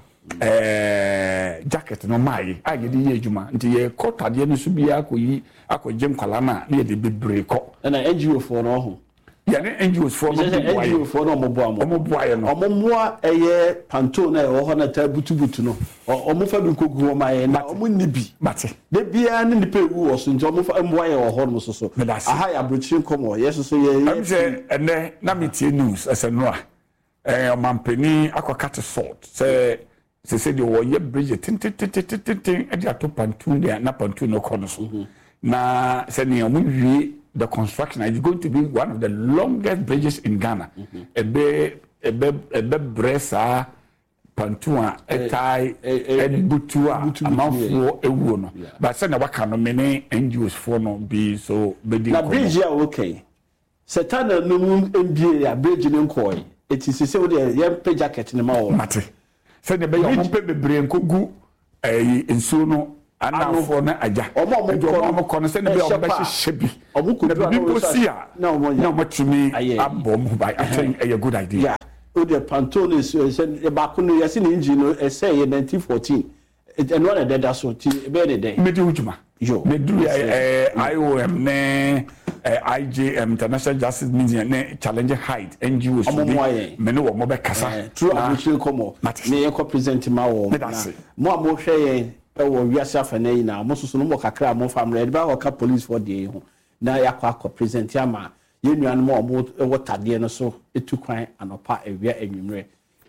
jacket no maa yi a yɛde yɛ adwuma, nti yɛkɔ tadeɛ no so biara akɔyi akɔgye nkwadaa no a, na yɛde bebree kɔ. Ɛna NGO foɔ no ɔho. Yɛne NGOs foɔ no bi boa yɛ. NGO foɔ no ɔmo boa mo. Ɔmo boa yɛ no. Ɔmo mmoa ɛyɛ pontoon na ɛwɔ hɔ na taa butubutu no, ɔmo fa bi nkogu hɔ ma yɛn na ɔmo nni bi. Mate. De biara ne nipa ewu wɔ so, nti ɔmo fa mmoa yɛ wɔ hɔ nom soso. Medase. Aha yɛ aburokyire nkɔmɔ yɛ soso yɛ yɛ. Sɛ ɛnɛ na mi tie news ɛsɛ no a, ɔmampanin akɔ cut sod sɛ sese deɛ wɔyɛ bridge tententententen de ato pontoon deɛ na pontoon no kɔ no so, na sɛnea wɔn wie the construction, it's going to be one of the longest bridges in Ghana. Ɛbɛ brɛ saa pontoon a ɛtae ɛbutu a amanfoɔ ewuo no, but sɛnea waka no, me ne NGOs foɔ no bi so bɛdi nkɔmɔ. Na bridge a wɔka yi, sɛ tunnel no mu mbie a, bridge no nkɔɛ, eti sese wo deɛ yɛmpɛ jacket no ma wɔn. Mate. Sɛdeɛ ɛbɛyɛ a wɔmpɛ bebree nkɔgu ɛyi nsuo no anafoɔ no agya. Wɔn a Nti wɔkɔ wɔn a no wɔkɔ no sɛdeɛ ɛbɛyɛ a ɛhyɛ pa wɔbɛhyehyɛ bi. a, Na wɔkɔduru a biribi na mpo wɔn si a na na wɔyɛ. wɔatumi Ayɛ yi. abɔ wɔn ho ban. I think ɛyɛ good idea. Yeah. Wo deɛ panto no nsuo ɛsɛ baako no yɛse ne engine no ɛsɛe yɛ 1914 ɛno ara na ɛdeda so nti ɛbɛyɛ ne dɛn? Medi ho dwuma. Yo. Meduru Mesrɛ. IOM ne IJM, International Justice Mission ne Challenging Height NGOs Ɔmo bi, mmoa yɛn. me ne wɔn bɛkasa Eh, true na aburokyire nkɔmmɔ mate. ne yɛnkɔ present ma wɔn Meda na ase. mo a mohwɛ yɛn wɔ wiase afanan nyinaa mo nso so no mowɔ kakra a momfa mmra yɛde bɛakɔ ka police foɔ deɛ yi ho na yɛakɔ akɔ present ama yɛn nuanom a wɔn wɔ tadeɛ no so tu kwan anɔpa awia anwummerɛ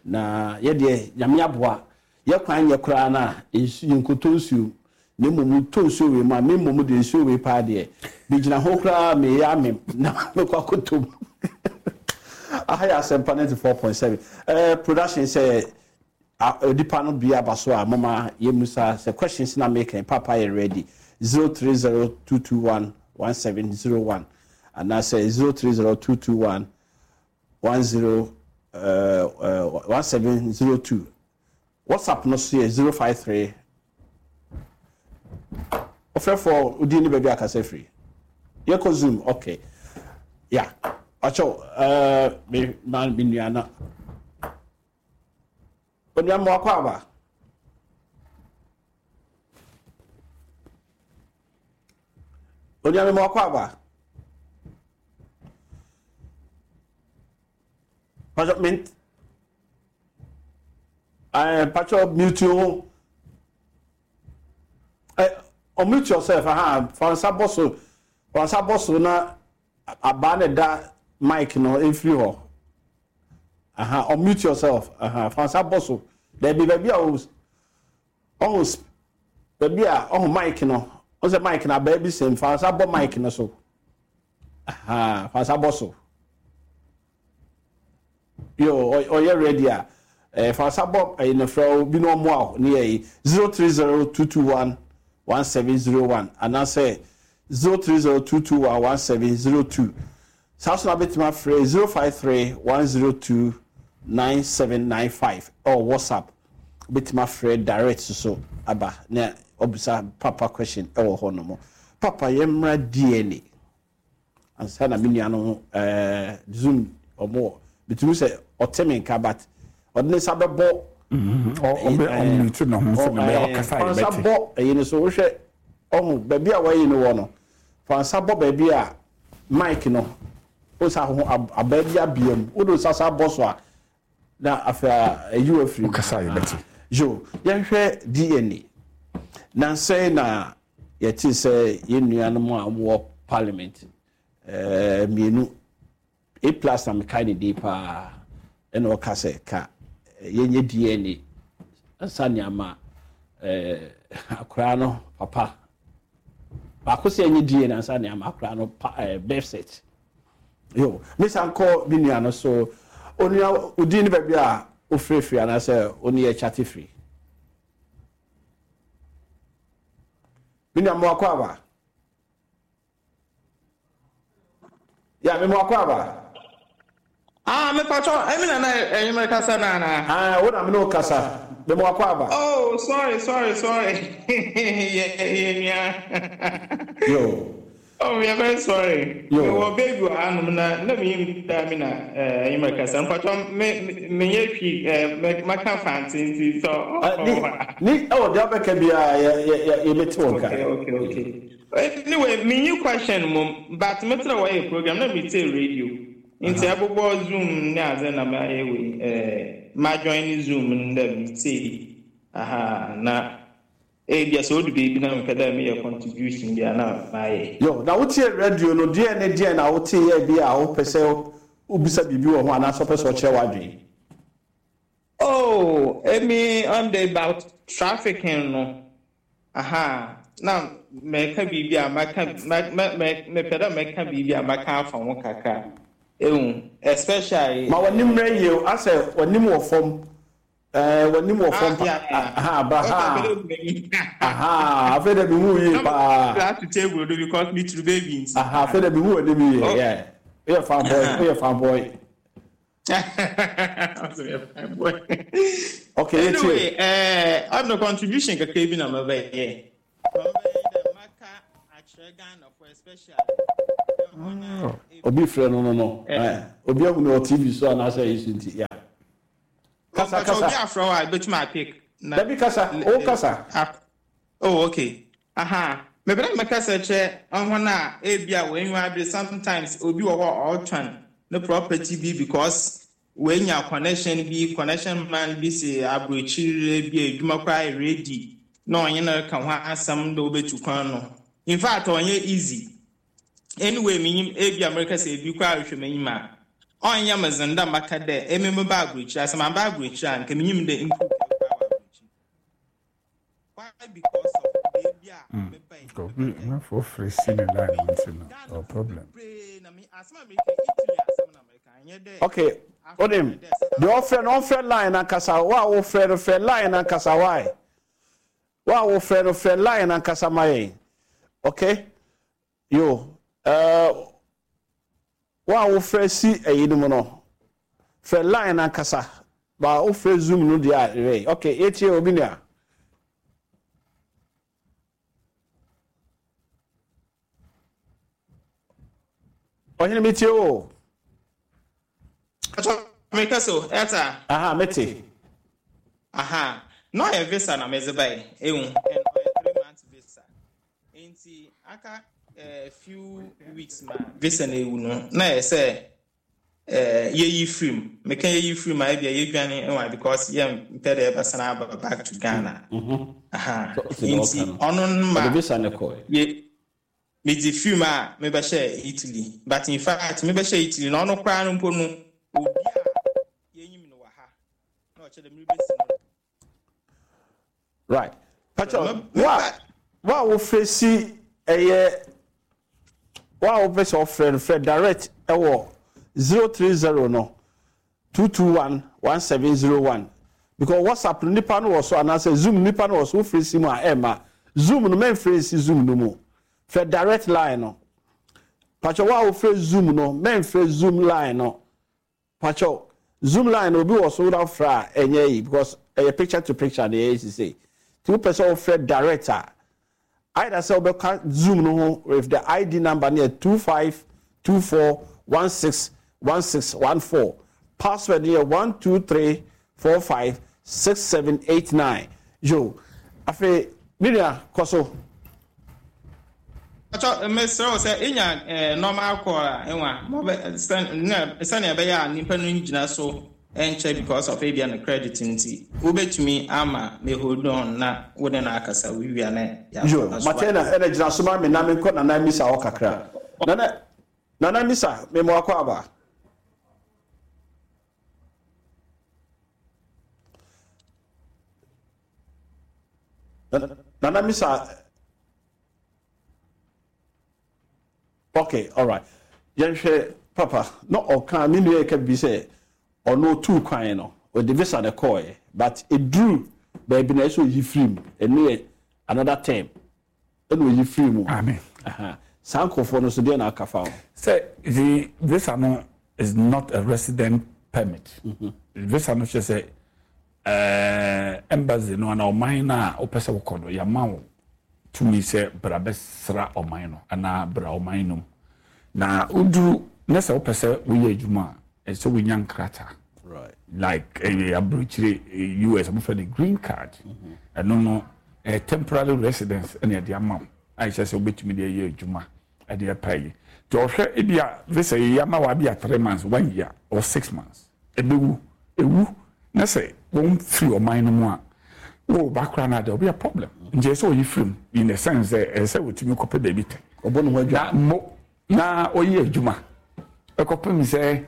Na yɛ deɛ Nyame aboa yɛ kwan nyɛ koraa no a nsu yɛnkɔtɔ nsuo na mmom wotɔ nsuo wei mu a me mmom deɛ nsuo wei paa deɛ megyina ho koraa meyɛ amem na mekɔ akɔtɔ mu. Aha yɛ Asɛmpa 94.7 eh, production sɛ onipa no bia aba so a moma yɛmmusa sɛ questions na meka yi papa yɛ ready 0302211701 anaasɛ 030221 10 1702 WhatsApp no so yɛ 053 Ɔfrɛfoɔ wo din ne baabi a kasa firi yɛkɔ zoom ok ya ɔkyɛw ɛɛ me ma me nua na onua mo akɔ aba onua me mo akɔ aba Pacho me eh pacho mute ho. Eh unmute yourself aha fa nsa bɔ so. Fa nsa bɔ so na abaa na da mic no mfiri hɔ. Aha unmute yourself aha fa nsa bɔ so. Dabi baabi a o ɔho baabi a ɔho mic no. Ɔsɛ mic na abaa bi sɛm fa nsa bɔ mic no so. Ahaa, fa nsa bɔ so. Yo, ɔyɛ ready a, eh, fa nsa bɔ ɛyi no frɛ wo bi na ɔmmoa wo ne yɛ yi 030221 1701 anaasɛ 030221 1702. Saa so na bɛtumi afrɛ 053 102 9795 ɛwɔ WhatsApp. Wobɛtumi afrɛ direct so aba na wabisa papa question ɛwɔ hɔ nom. Papa yɛmmra DNA ansa na me nua no eh, zoom ɔmo wɔ metumi sɛ ɔte me nka but ɔde ne nsa bɛbɔ ɔbɛ ɔmute ne ho sɛ ne bɛyɛ ɔkasa yɛ nsa bɛte bɔ ɛyi no so wohwɛ ɔho baabi a wɔayi no wɔ no fa nsa bɔ baabi a mic no wo nsa ho abaa bi abea mu wode nsa sa bɔ so a Na afei a ayi wo afiri mu. Wokasa a yɛbɛte. Yo, yɛnhwɛ DNA. Nnansa yi na yɛtee sɛ yɛn nuanom a wɔwɔ parliament eh, mmienu, A plus na mekae ne din paa, ɛna ɔka sɛ ka yɛnyɛ DNA ansa ne ama eh, akoraa no papa. Baako sɛ yɛnyɛ DNA ansa ne ama akoraa no pa, eh, birth cert. Yo, me san kɔ me nua no so. Onua, wo din ne baabi a wofrɛ firi anaasɛ wo ne yɛ kyate firi? Me nua, mmoakɔ aba. Ya, me mmoakɔ aba. Ah, me pacho, emi na na enyimere kasa na na. Ah, wo na me ne wo kasa. Me mmoakɔ aba. Oh, sorry, sorry, sorry. Yeah, yeah, yeah. Yo. Oh, we are very sorry. Yo. Me wɔ baby wɔ hanom na na me yim da me na eh enyimere kasa. Mpacho me me nye twi eh me maka fante nti so. Ni ni oh, deɛ wobɛka biara yɛ yɛ yɛ yɛbɛte wo nka. Okay, okay, okay. Anyway, me nyi question mom, but me tena wɔyɛ program na me tie radio. Nti ɛbobɔ Zoom ne adze na mayɛ wei eh ma join Zoom no dɛ me tie. Aha, na ebia sɛ odu beebi na mepɛ dɛ meyɛ contribution bi a na mayɛ. Yo, na wotie radio no, deɛn ne deɛn na woteeɛ bi a wopɛ sɛ wobisa biribi wɔ ho anaasɛ wopɛ sɛ ɔkyerɛ w'adwene? Oh, emi on the about trafficking no, aha, na mɛka biribi a maka mɛ mɛ mepɛ dɛ mɛka biribi a maka afa ho kakra. Ehu, especially. Ma w'anim mmrɛ yie o, asɛ w'anim wɔ fam. Ɛɛ w'anim wɔ fam pa. Aha ba ha. Aha afei dɛ mehu yie paa. Glass to table do because me turu baby nti. Aha afei dɛ mehu w'anim yie. Yeah. Woyɛ fan boy, woyɛ fan boy. Ɔsɛ fine boy. Okay, yɛtie. Anyway, eh, ɔno contribution kakra bi na mɛbɛyɛ. Mɛbɛyɛ dɛ maka akyerɛ Ghana for especially. Obi frɛ no no no. Eh, obi ahu no wɔ TV so anaasɛ ɛyi so nti, yeah. Kasa, kasa. Obi afrɛ wo a, ebetumi apick. Na Dabi kasa, o kasa. Oh, okay. Aha. Mepɛ dɛ mekasa kyerɛ hɔn a ebi a woenyiwa aber, sometimes obi wɔ hɔ a ɔrotɔn ne property bi because oenya connection bi, connection man bi si aborɔkyir bi a edwuma koraa ayɛ ready na ɔnye no reka ho asɛm dɛ obetu kwan no. In fact, ɔnnyɛ easy. Anyway, minyim ebi a merekasa ebi koraa rohwɛ m'enyim a, ɔnnyɛ me dzen dɛ mɛka dɛ emi mebaa aborɔkyir a, sɛ mamba aborɔkyir a nka minyim dɛ improve koraa wɔ aborɔkyir. Why? Because of beebi a mebae. Obi amanfoɔ frɛ si ne line mu nti no ɔwɔ problem. Bebree na me asɛm a mereka yi, Italy asɛm na mereka, ɛnyɛ dɛ Okay, onim deɛ ɔfrɛ no ɔmfrɛ line ankasa, wo a wofrɛ no frɛ line ankasa, why? Wo a wofrɛ no frɛ line ankasa ma yɛn, okay? Yo, uh, wo a wofrɛ si ɛyi no mu no frɛ line ankasa, ba wofrɛ Zoom no deɛ a ɛyɛ okay. Yɛtie obi nua. Ɔhene, metie o. Meka so ɛta. Aha, mete. Aha, na ɔyɛ visa na medze bae, ehu, and ɔyɛ 3 months visa. Nti aka few weeks ma visa no ewu no, na yɛ sɛ yɛyi firi mu. Meka yɛyi firi mu a, ebia yɛdwane nwa because yɛmpɛ dɛ yɛbɛsan aba back to Ghana. Aha, nti ɔno no ma ɔde visa no kɔɛ. Yɛ medze firi mu a mebɛhyɛ Italy, but in fact mebɛhyɛ Italy na ɔno koraa no mpo no, obi a yɛnyim no wɔ ha na ɔkyerɛ dɛ merebɛsi no. Right, patro, wo a wofrɛ si ɛyɛ wo a wopɛ sɛ ɔfrɛ no, frɛ direct ɛwɔ 030 no 221 1701, because WhatsApp no nipa no wɔ so anaasɛ Zoom nipa no wɔ so. Wofrɛ si mu a ɛmma Zoom no, mɛmfrɛ nsi Zoom no mu, frɛ direct line no. Patro, wo a wofrɛ Zoom no, mɛmfrɛ Zoom line no. Patro, Zoom line obi wɔ so na wofrɛ a ɛnyɛ yi because ɛyɛ picture to picture na ɛyɛ sise. Nti wopɛ sɛ wofrɛ direct a, either sɛ wobɛka Zoom no ho with the ID number no yɛ 2524161614, password no yɛ 123456789. Yo, afei me nua, kɔ so. Atɔ, mesrɛ wo sɛ enya normal call a, enwa mɔbɛ sɛnea ɛbɛyɛ a nipa no ngyina so nkyɛ because of ebia no credit nti, wobɛtumi ama me hold on na wo ne no akasa wowia na Yo, yɛafa so. Matena ɛna gyina so ma me na menkɔ Nana Misa hɔ kakra. Nana, Nana Misa, mema wakɔ aba. Nana Misa, okay, alright. Yɛnhwɛ papa na ɔka me nua yɛ ka bi sɛ ɔno otuu kwan no, ɔde visa na ɛkɔɔɛ, but eduru baabi na ɛsɛ oyi firi mu, ɛno yɛ another term ɛna oyi firi mu. Amen. Aha. Saa nkurɔfoɔ no so deɛ na aka fa ho? Sɛ the visa no is not a resident permit. Visa no kyerɛ sɛ embassy no anaa ɔman no a wopɛ sɛ wokɔ no, yɛama wo tumi sɛ bra bɛsra ɔman no anaa bra ɔman no mu. Na woduru na sɛ wopɛ sɛ woyɛ adwuma a, ɛsɛ sɛ wonya nkrataa. Like ɛyɛ aburokyire US, wɔfrɛ no green card. Ɛno no ɛyɛ temporary residence ɛna ɛde ama wo a ɛkyerɛ sɛ wobɛtumi de ayɛ adwuma ɛde apa yi. Nti ɔhwɛ ebi a visa yi ama wa bi a 3 months, one year or 6 months, ɛbɛwu ewu na sɛ wɔn firi ɔman no mu a, wo ba koraa na de ɔbɛyɛ problem. Nti ɛsɛ ɔyi firi mu in the sense sɛ ɛsɛ sɛ wɔtumi kɔpɛ baabi tɛ. Ɔbɔ ne ho adwa. Na mo na ɔyɛ adwuma ɛkɔpem sɛ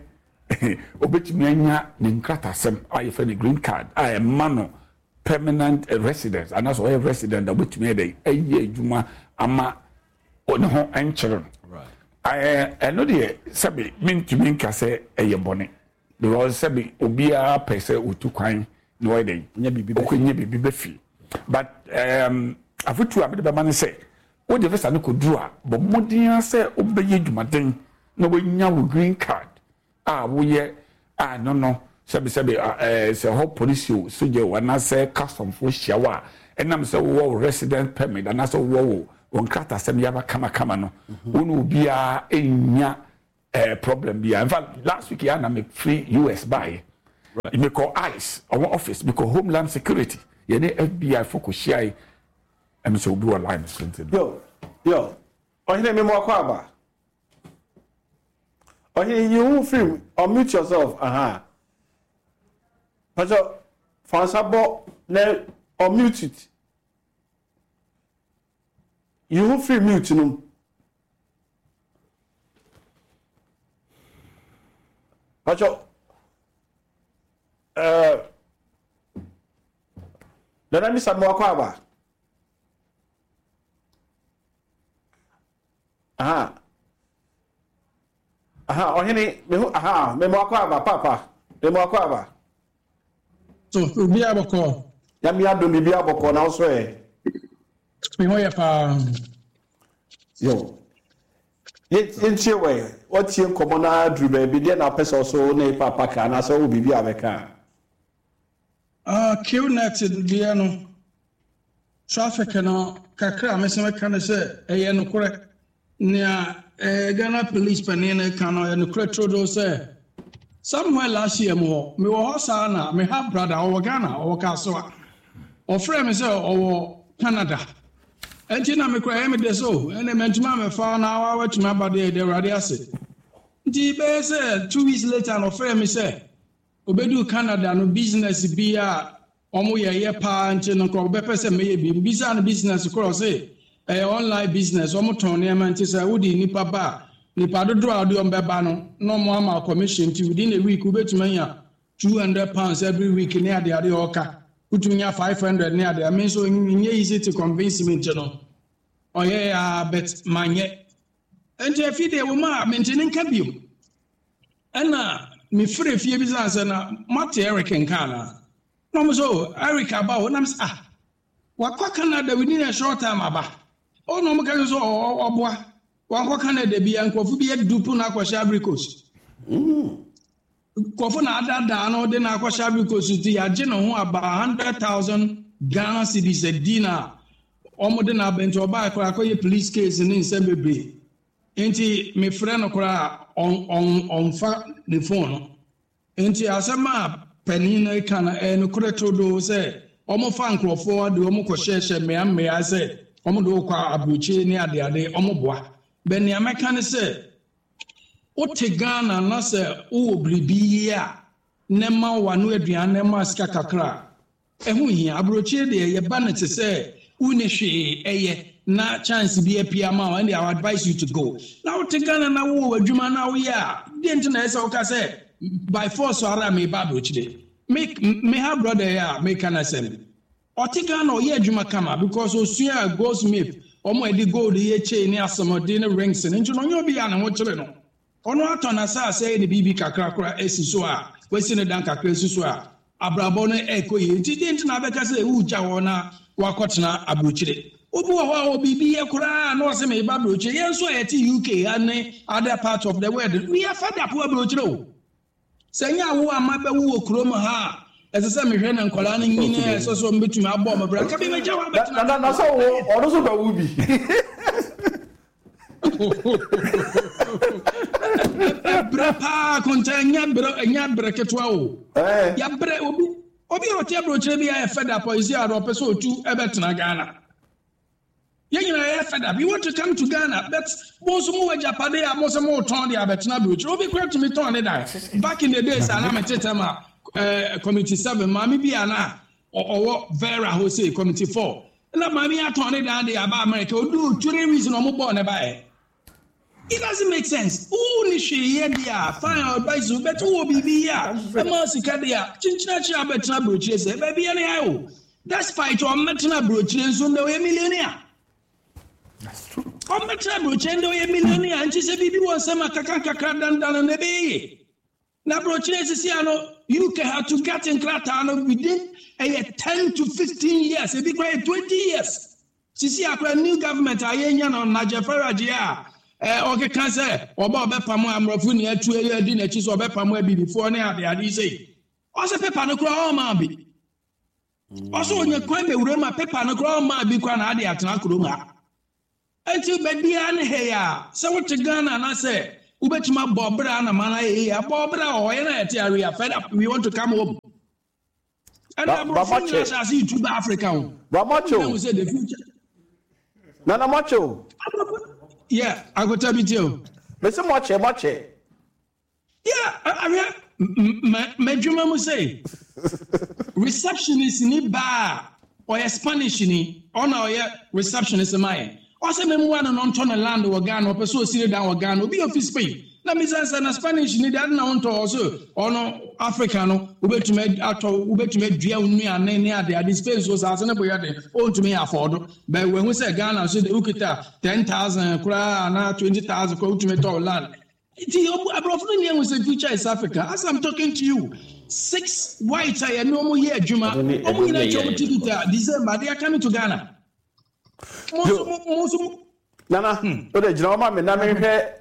obetumi anya ne nkratasɛm a yɛfrɛ no green card a ɛma no permanent residence, anaasɛ ɔyɛ resident a obetumi ayɛ dɛ ɛyɛ adwuma ama ne ho nkyerɛ no. Ɛno deɛ, sɛbi, mentumi nka sɛ ɛyɛ bɔne because sɛbi obiara pɛ sɛ otu kwan na ɔyɛ dɛ Nya biribi bɛ. Ɔkɔnya biribi bɛ fie, but afotu a mede bɛma ne sɛ wode visa no kɔduru a, bɔ mmɔden ara sɛ wobɛyɛ dwumaden na woanya wo green card a woyɛ. A ɛno no, sɛbesɛbe, ɛɛ, sɛ hɔ polisi o, sogya o, anaasɛ customfoɔ hyia wo a, ɛnam sɛ wowɔ wo residence permit anaasɛ wowɔ wo wo nkratasɛm yaba kamakama no, wo ne obiara nnya ɛɛ problem biara. In fact, last week yɛ na mefiri US baeɛ. Mekɔ ICE, ɔwɔ office, mekɔ Homeland Security, yɛne FBI fo kɔhyiae. Ɛm sɛ obi wɔ line so nti no. Yo, yo, ɔhene me mo akɔ aba. Ɔhene yi wo firi mu, unmute yourself, aha. Pakyɛ, fa nsa bɔ na unmute it. Yi wo firi mute no mu. Pakyɛ, ɛɛ, eh, Nana Misa mo akɔ aba. Aha. Aha, ɔhene, me ho, aha, me mo akɔ aba, papa, me mo akɔ aba. So, obi abɔkɔ. Nyame adom biribi abɔkɔ na wosɔ ɛ. Me ho yɛ paa. Yo. Yɛntie wɛ, watie nkɔmmɔ no aduru baabi, deɛ na wopɛ sɛ ɔso ne papa ka anaasɛ wowɔ biribi a bɛka a. Ah, QNet deɛ no, traffic no kakra a mese mɛka ne sɛ ɛyɛ nokorɛ. Nea eh, Ghana police panin no ka no ɛyɛ nokorɛ turodoo sɛ somewhere last year mu hɔ, mewɔ hɔ saa na me half brother ɔwɔ Ghana, ɔwɔ Kasoa. Ɔfrɛɛ me sɛ ɔwɔ Canada. Ɛnti na me koraa ɛyɛ me dɛ sɛ oh, ɛnna mantumi ammɛfa na watumi aba deɛ, yɛda Awurade ase. Nti bɛyɛ sɛ 2 weeks later na ɔfrɛɛ me sɛ Obeduu Canada no, business bi a wɔyɛ yɛ paa nti no, nka ɔbɛpɛ sɛ mɛyɛ bi. Mebisaa no business korɔ, ɔse ɛyɛ online business, wɔtɔn nneɛma nti sɛ wode nnipa ba a, nnipa dodoɔ a wode wɔn bɛba no, na wɔn ama wo commission nti within a week wobɛtumi anya £200 every week ne adeade a ɔka, wotumi nya 500 ne adeade. Me nso ɛnyɛ easy to convince me nti no, ɔyɛɛ ara but manyɛ. Nti afei deɛ ɛwɔ mu a mente ne nka bio. Ɛna mefrɛ fie bisaa sɛ na moate Eric nka anaa? Na wɔn sɛ oh Eric aba o. Na me sɛ ah wakɔ Canada within a short time aba. Oh na wɔn ka sɛ ɔboa wankɔ Canada bia nkurɔfo bi adupu no akɔhyɛ Ivory Coast. Nkurɔfo na adaadaa no de no akɔhyɛ Ivory Coast nti yɛagye ne ho aba 100,000 Ghana cedis adi na wɔn de no aba nti ɔbaa koraa akɔyɛ police case ne nsɛm bebree. Enti mefrɛ no koraa a, ɔmfa ne fon no. Enti asɛm a panin no reka no, ɛyɛ nokorɛ turodoo sɛ wɔfa nkurɔfoɔ de wɔn kɔhyɛhyɛ mmea mmea sɛ wɔde wo kɔ aburokyire ne adeade, wɔboa. But nea mɛka ne sɛ, wote Ghana na sɛ wowɔ biribi yɛ a, na ɛma w'ano aduan na ɛma sika kakra a, Ɛho nhia. Aburokyire deɛ yɛba no te sɛ wonni hwee yɛ na chance bi apue ama wo ɛnde I will advise you to go. Na wote Ghana na wowɔ w'adwuma na woyɛ a, deɛ nti na ɛsɛ sɛ woka sɛ by force ara meba aburokyire? Me me ha brother yi a meka n'asɛm yi, ɔte Ghana ɔyɛ adwuma kama because osuaa goldsmith, wɔn a ɛde gold yɛ chain ne asomɔde ne rings no nti no ɔnyɛ obi a ne ho kyere no. Ɔno atɔ n'asase ayɛ ne biribi kakra koraa asi so a, wasi ne dan kakra asi so a, abrabɔ no rekɔ yie. Nti deɛn nti na wobɛka sɛ woregya hɔ na woakɔtena aburokyire? Obi wɔ hɔ a ɔwɔ biribi yɛ koraa a na ɔse mereba aburokyire. Yɛn nso a yɛte UK ha ne other parts of the world, we are fed up wɔ aburokyire o. Sɛ ɛnyɛ awo a mabɛwo wɔ kurom ha a, ɛsɛ sɛ mehwɛ na nkwadaa no nyini a ɛsɛ sɛ wɔbɛtumi abɔ wɔn bra. Nka bi mɛgya hɔ abɛtena. Na na sɛ wo ɔno nso bɛwo bi. Ɛbrɛ paa konta ɛnyɛ brɛ ɛnyɛ brɛ ketewa o. Yɛbrɛ obi obi a ɔte aburokyerɛ bi ayɛ fed up ɔyɛ a ɔpɛ sɛ otu ɛbɛtena Ghana. Yɛn nyinaa yɛ fed up. You want to come to Ghana but mo nso mo wɔ agyapade a mo sɛ mo tɔn de abɛtena aburokyire. Obi kura tumi tɔn ne dan. Back in the days a na me tete ma eh, committee 7 maame bi a na ɔwɔ Vera hɔ sei committee 4. Na maame atɔn ne dan de aba America. Odu 3 weeks na ɔmo bɔɔ ne ba ɛ. It doesn't make sense. Wo ni hwee yɛ deɛ a fine I advise you but wowɔ biribi yɛ a ɛma sika deɛ a kyenkyena kyerɛ abɛtena aburokyire sɛ baabi yɛ ne ayɛ o. Despite ɔmmɛtena aburokyire nso ndɛ ɔyɛ millionaire. Ɔmmɛtena aburokyire ndɛ ɔyɛ millionaire nti sɛ biribi wɔ nsɛm a kakra nkakra dandan no ɛbɛyɛ yie. Na aburokyire sisi ano UK ha to get nkrataa no within ɛyɛ 10 to 15 years, ebi koraa yɛ 20 years. Sisi akora new government a yɛnya no, Nigel Farage a a ɔkeka sɛ ɔba ɔbɛpamo amorɔfo ni atu adi n'akyi sɛ ɔbɛpamo abibifoɔ ne adeade sei. Ɔsɛ pepa no koraa ɔmaa bi. Ɔsɛ ɔnya kwan bɛwura mu a pepa no koraa ɔmaa bi koraa na ade atena kurom ha. Enti baabiara ne ha yi a, sɛ wote Ghana anaasɛ wobɛtumi abɔ bra na ma no ayɛ yie a, bɔ bra wɔ hɔ. Yɛn a yɛte ha, we are fed up, we want to come home. Ɛna aborɔfo nyina asase yi tu ba Africa o. Ba mɔkye o. Sɛ the future. Nana mɔkye o. Yeah, akota bi tie o. Mese mɔkye mɔkye. Yeah, ahwɛ m'adwuma mu sɛ receptionist ni baa ɔyɛ Spanish ni ɔna ɔyɛ receptionist ma yɛn. Ɔsɛ memmoa no na ɔntɔ ne land wɔ Ghana, ɔpɛ sɛ ɔsi ne dan wɔ Ghana. Obi a ofi Spain. Na misa no sɛ, na Spanish ni de, ade na wontɔ? Ɔse ɔno Africa no, wobɛtumi atɔ, wobɛtumi adua wo nnuane ne ade ade. Spain so saase no bo yɛ den, ɔntumi afford. But wahu sɛ Ghana nso de, wokita 10,000 koraa anaa 20,000 koraa wotumi tɔ wo land. Nti aborɔfo no nyɛ hu sɛ future is Africa. As I'm talking to you, six whites a yɛne wɔn yɛ adwuma, wɔn nyinaa twa wɔn ticket a December they are coming to Ghana. Mo nso mo mo nso mo. Nana, o de gyina hɔ ma me na menhwɛ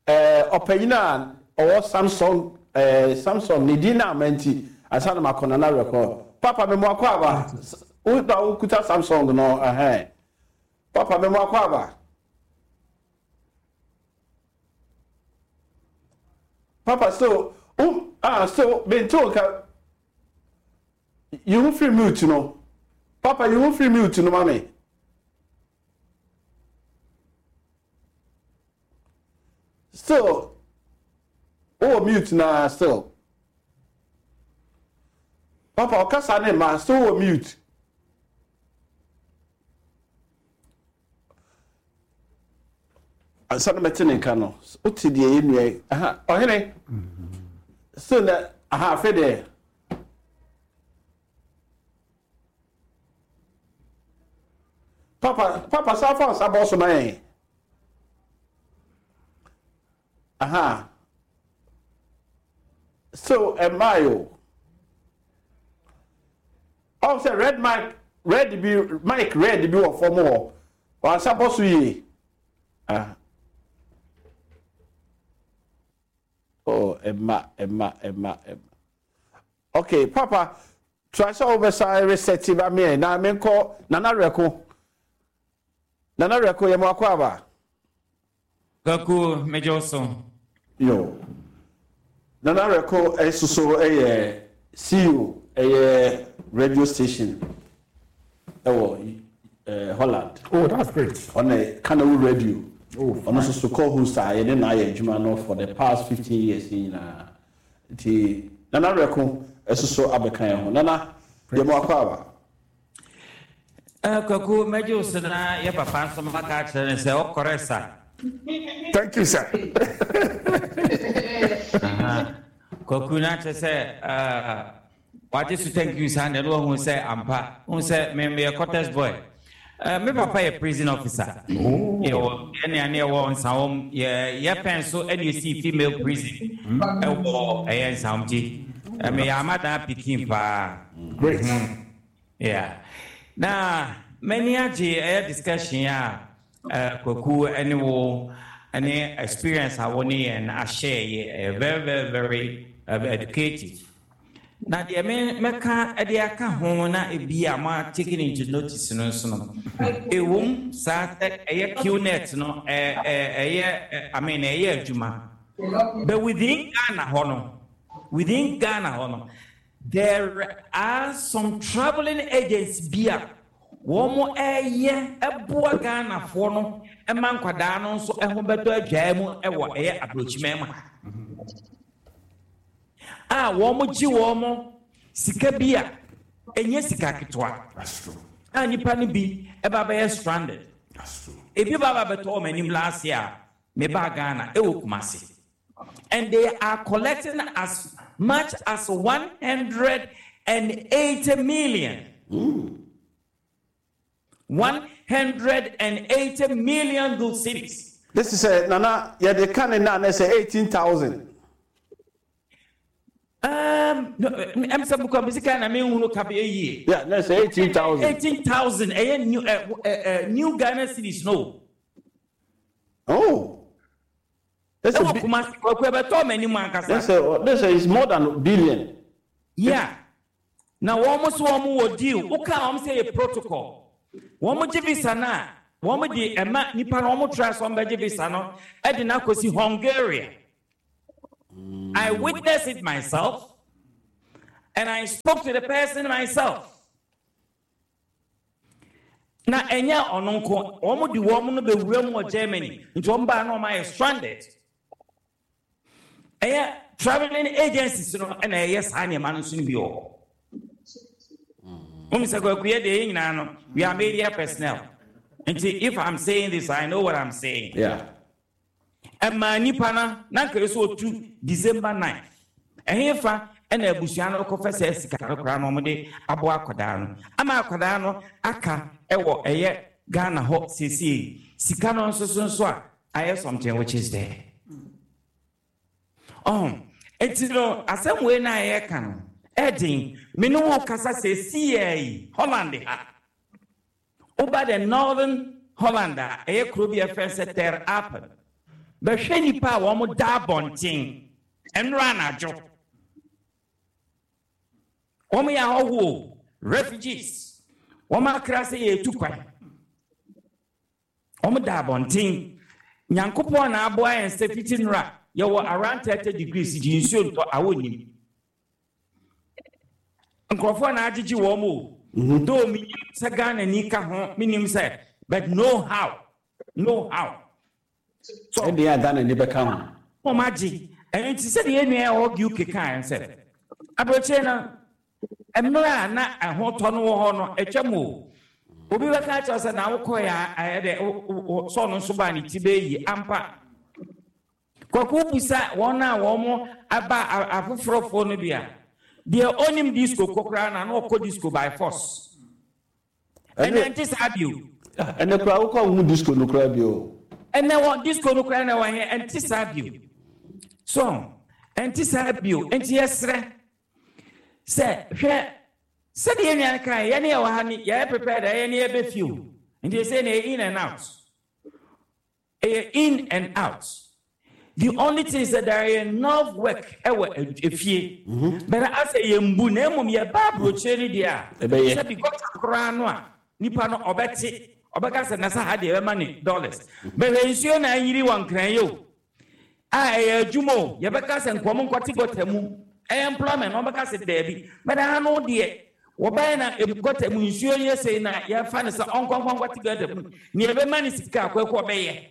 ɛɛ ɔpanyin a ɔwɔ Samsung ɛɛ Samsung ne din na ama nti ansa na makɔ Nana rekɔ. Papa me mo akɔ aba. Wo na wokuta Samsung no ɛhɛn. Papa me mo akɔ aba. Papa so wo ah so mente wo nka yi ho firi mute no. Papa yi ho firi mute no ma me. Still wowɔ mute na still. Papa ɔkasa ne ma still wowɔ mute. Ansa na mɛte ne nka no, wote deɛ yɛ nua yi, aha, ɔhene, still na, aha, afei deɛ. Papa, papa, saa fa nsa bɔ so ma yɛn. Aha. So, ɛmmaa o. Ɔn sɛ red mic red bi mic red bi wɔ fam hɔ. Wansa bɔ so yie. Ah. Oh, ɛma ɛma ɛma ɛma. Okay, papa, try sɛ wobɛsa reset ba me na menkɔ Nana Rɛko. Nana Rɛko yɛ mo akɔ aba. Kwaku, megye wo so. Yo. Nana Reko nso so yɛ CEO ɛyɛ radio station ɛwɔ eh, Holland. Oh, that's great. Ɔna Kanawu Radio. Oh, Ɔno nso so co-host a yɛne no ayɛ adwuma no for the past 15 years yi nyinaa. Nti Nana Reko nso so abɛka yɛn ho. Nana, yɛ mo akɔ aba. Eh, Kwaku, mɛgye wo so na yɛ papa nso maka akyerɛ no sɛ ɔkɔrɛ sa. Thank you, sir. Kwaku na kyerɛ sɛ eh, wagye so thank you saa na ɛno wahu sɛ ampa hu sɛ me meyɛ quarters boy. Eh, me papa yɛ prison officer. Oh. Yɛwɔ ɛne ane ɛwɔ nsawom yɛ yɛ pɛn so ɛne esi female prison ɛwɔ ɛyɛ nsawom ti. Meyɛ amadan pikin paa. Great. Yeah. Na m'ani agye ɛyɛ discussion a eh, Kwaku ɛne wo ɛne experience a wo ne yɛn ahyɛ yɛ ɛyɛ very very very uh, educative. Na deɛ me mɛka ɛde aka ho na ebi a mo taking into notice no nso no, ewom saa sɛ ɛyɛ QNet no ɛ ɛ ɛyɛ I mean ɛyɛ adwuma, but within Ghana hɔ no, within Ghana hɔ no. There are some travelling agents bi a wɔn ɛyɛ boa Ghanafoɔ no ma nkwadaa no nso ho bɛtɔ adwaa mu wɔ ɛyɛ aburokyiman mu ha a wɔn gye wɔn sika bi a ɛnyɛ sika ketewa a nipa no bi ɛba bɛyɛ stranded ebi ba ba bɛtɔ wɔn anim last year mebaa Ghana ɛwɔ Kumasi. And they are collecting as much as 180 million. Mm. 180 million good cedis. This is a nana, yeah, they can now say 18,000. Um, no, I'm some sika na me hunu ka be yie. Yeah, let's say 18,000. 18,000 eh new uh, uh, uh, new Ghana cedis no. Oh. Ɛwɔ Kumasi, Kwaku, ɛbɛtɔɔ m'anim ankasa. They say, they say it's more than billion. Yeah. Na wɔn nso wɔn wɔ deal. Woka wɔn sɛ yɛ protocol. Wɔn gye visa no a, wɔn de ɛma nipa no wɔn try sɛ wɔn bɛgye visa no ɛde no akɔsi Hungary. I witnessed it myself and I spoke to the person myself. Na ɛnyɛ ɔno nko, wɔn de wɔn no bɛwura mu wɔ Germany, nti wɔn baa na wɔn ayɛ stranded. Ɛyɛ traveling agencies no ɛna ɛyɛ saa nneɛma no nso no bi wɔ hɔ. Wɔn sɛ kwaku yɛ deɛ yɛn nyinaa no, we are media personnel. Nti if I'm saying this, I know what I'm saying. Yeah. Ɛmaa nnipa no na anka ɛsɛ ɔtu December 9th. Ɛhefa na abusua no kɔfɛ saa sika no koraa na wɔde aboa akwadaa no ama akwadaa no aka wɔ ɛyɛ Ghana hɔ seesei sika no nso so nso a ayɛ something which is there. Ɔho nti no asɛm wei na yɛka no ɛden me ne wo kasa seesei yi Holland ha. Woba the Northern Holland a, ɛyɛ kuro bi a yɛfrɛ no sɛ Ter Apel. Bɛhwɛ nnipa a wɔn da abɔnten nnora anadwo. Wɔn yɛ ahɔhoɔ, refugees. Wɔn akra sɛ yɛretu kwan. Wɔn da abɔnten. Nyankopɔn na aboa yɛn sɛ fiti nnora yɛwɔ around 30 degrees gye nsuo ntɔ awɔ nim. Nkurɔfoɔ na agyegye wɔn o. Mhm. Though menim sɛ Ghana ni ka ho, menim sɛ but no how, no how. So ɛdeɛ a Ghana ni bɛka ho. Wɔn agye. Ɛno nti sɛdeɛ yɛn nua ɛwɔ UK kaeɛ sɛ aburokyire no mmerɛ a na ɛho tɔ no wɔ hɔ no atwam o. Obi bɛka akyerɛ sɛ na wokɔɛ a ɛyɛ dɛ sɛ ɔno nso baa ne ti bɛyɛ ampa. Kwaku bisa wɔn a wɔn aba afoforɔfoɔ no bi a, deɛ ɔnim disco kɔ koraa na na ɔkɔ disco by force. Ɛnɛ nte saa bio. Ɛnɛ koraa wokɔ ahohu disco no koraa bio. Ɛnɛ wɔ disco no koraa na wɔ he ɛnte saa bio. So ɛnte saa bio nti yɛsrɛ sɛ hwɛ sɛdeɛ yɛn nua no kae yɛne yɛwɔ ha ni yɛyɛ prepared a yɛne yɛbɛ fie o nti ɛsɛ na in and out. Ɛyɛ in and out. The only thing sɛ there are enough work ɛwɔ efie. But asɛ yɛn bu na mmom yɛ ba aburokyire no deɛ a. Ɛbɛyɛ. Sɛ bi gɔta koraa no a nipa no ɔbɛte ɔbɛka sɛ nasa ha deɛ ɛbɛma ne dollars. Bɛhwɛ nsuo na ayiri wɔ nkran yi o. A ɛyɛ adwuma o yɛbɛka sɛ nkɔm nkɔte gɔta mu ɛyɛ employment na ɔbɛka sɛ daabi. But ha no deɛ wɔbɛyɛ na gɔta mu nsuo yɛ sei na yɛfa no sɛ ɔnkɔnkɔnkɔte gɔta mu nea ɛbɛma ne sika akɔkɔ ɔbɛyɛ.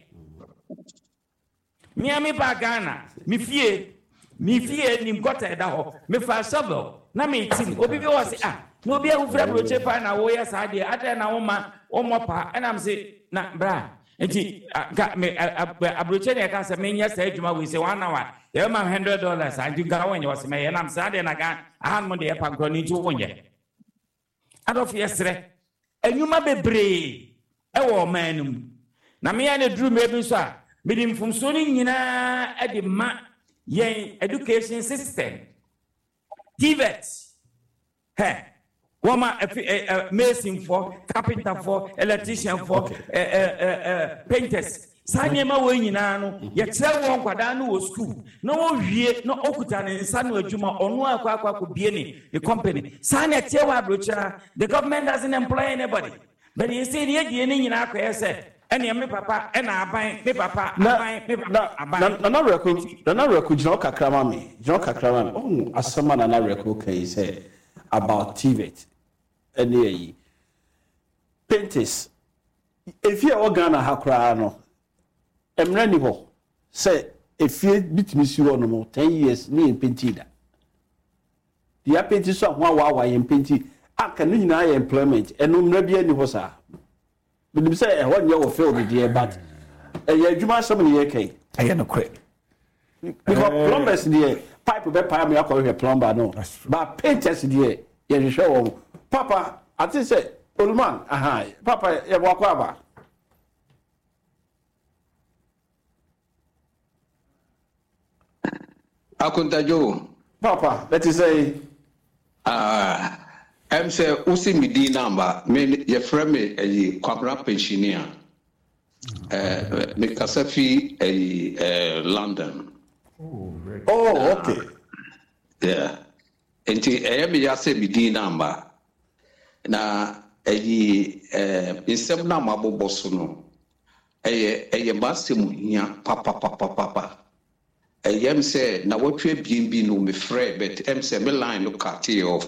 Mmea me ba Ghana me fie me fie nim gɔta ɛda hɔ mefa shovel na metim obi bi wɔ se ah na obi ahofira aburokyire paa na woyɛ saa deɛ adɛn na woma wɔmmɔ paa ɛnam se na bra nti nka me aburokyire na yɛka sɛ menyɛ saa adwuma wei sɛ one hour yɛbɛma $100 a nti nka wonyɛ wɔ se mɛyɛ nam saa deɛ na Ghana ahanom deɛ yɛpa nkorɔ no nti wonyɛ. Adɔfo yɛsrɛ nnwuma bebree wɔ ɔman no mu na me a na duru mmerɛ bi nso a mede mfomsoɔ no nyinaa de ma yɛn education system TVET hɛ wɔn a ɛfi ɛ ɛ masonfoɔ carpenterfoɔ electricianfoɔ ɛ ɛ ɛ painters saa nneɛma wɔ nyinaa no yɛkyerɛ wɔn nkwadaa no wɔ sukuu na wɔwie na ɔkuta ne nsa no adwuma ɔno akɔ akɔ akɔ bie ne ne company saa na ɛteɛ wɔ aburokyire the government doesn't employ anybody but yɛ sɛ yɛ die ne nyinaa akɔyɛ sɛ ɛnea me papa ɛna aban me papa aban me papa aban. Nana Wereko Nana Wereko gyina hɔ kakra ma me gyina hɔ kakra ma me ɔhu asɛm a Nana Wereko ka yi sɛ about TVET ɛne ayi painters efie a ɛwɔ Ghana ha koraa no mmerɛ ni hɔ sɛ efie bi tumi si hɔ nom 10 years ne yɛn painti da deɛ apainti so a ho awaawa yɛn painti aka ne nyinaa yɛ employment ɛno mmerɛ bi ani hɔ saa menim sɛ ɛhɔ nyɛ wɔ field deɛ but ɛyɛ adwuma asɛm ne yɛka yi. Ɛyɛ nokorɛ. Because plumbers deɛ pipe bɛ paa mi akɔhwehwɛ plumber no but painters deɛ yɛhwehwɛ wɔn papa ate sɛ oluman aha papa yɛ bɔ akɔ aba. Akontadwo. Papa bɛte sɛ yi. Ah, ɛm sɛ wosi me din namba me yɛfrɛ me ɛyi Kwabena Pensionia. Eh, mekasa fi ɛyi eh, London. Oh, okay. Yeah. Nti ɛyɛ me ya sɛ me din no amma. Na ɛyi eh, nsɛm no a mabobɔ so no, ɛyɛ ɛyɛ m'asɛm hia papapapapa. Ɛyɛ m sɛ nawɔtwe abien bi no mefrɛ, but ɛm sɛ me line no cut off.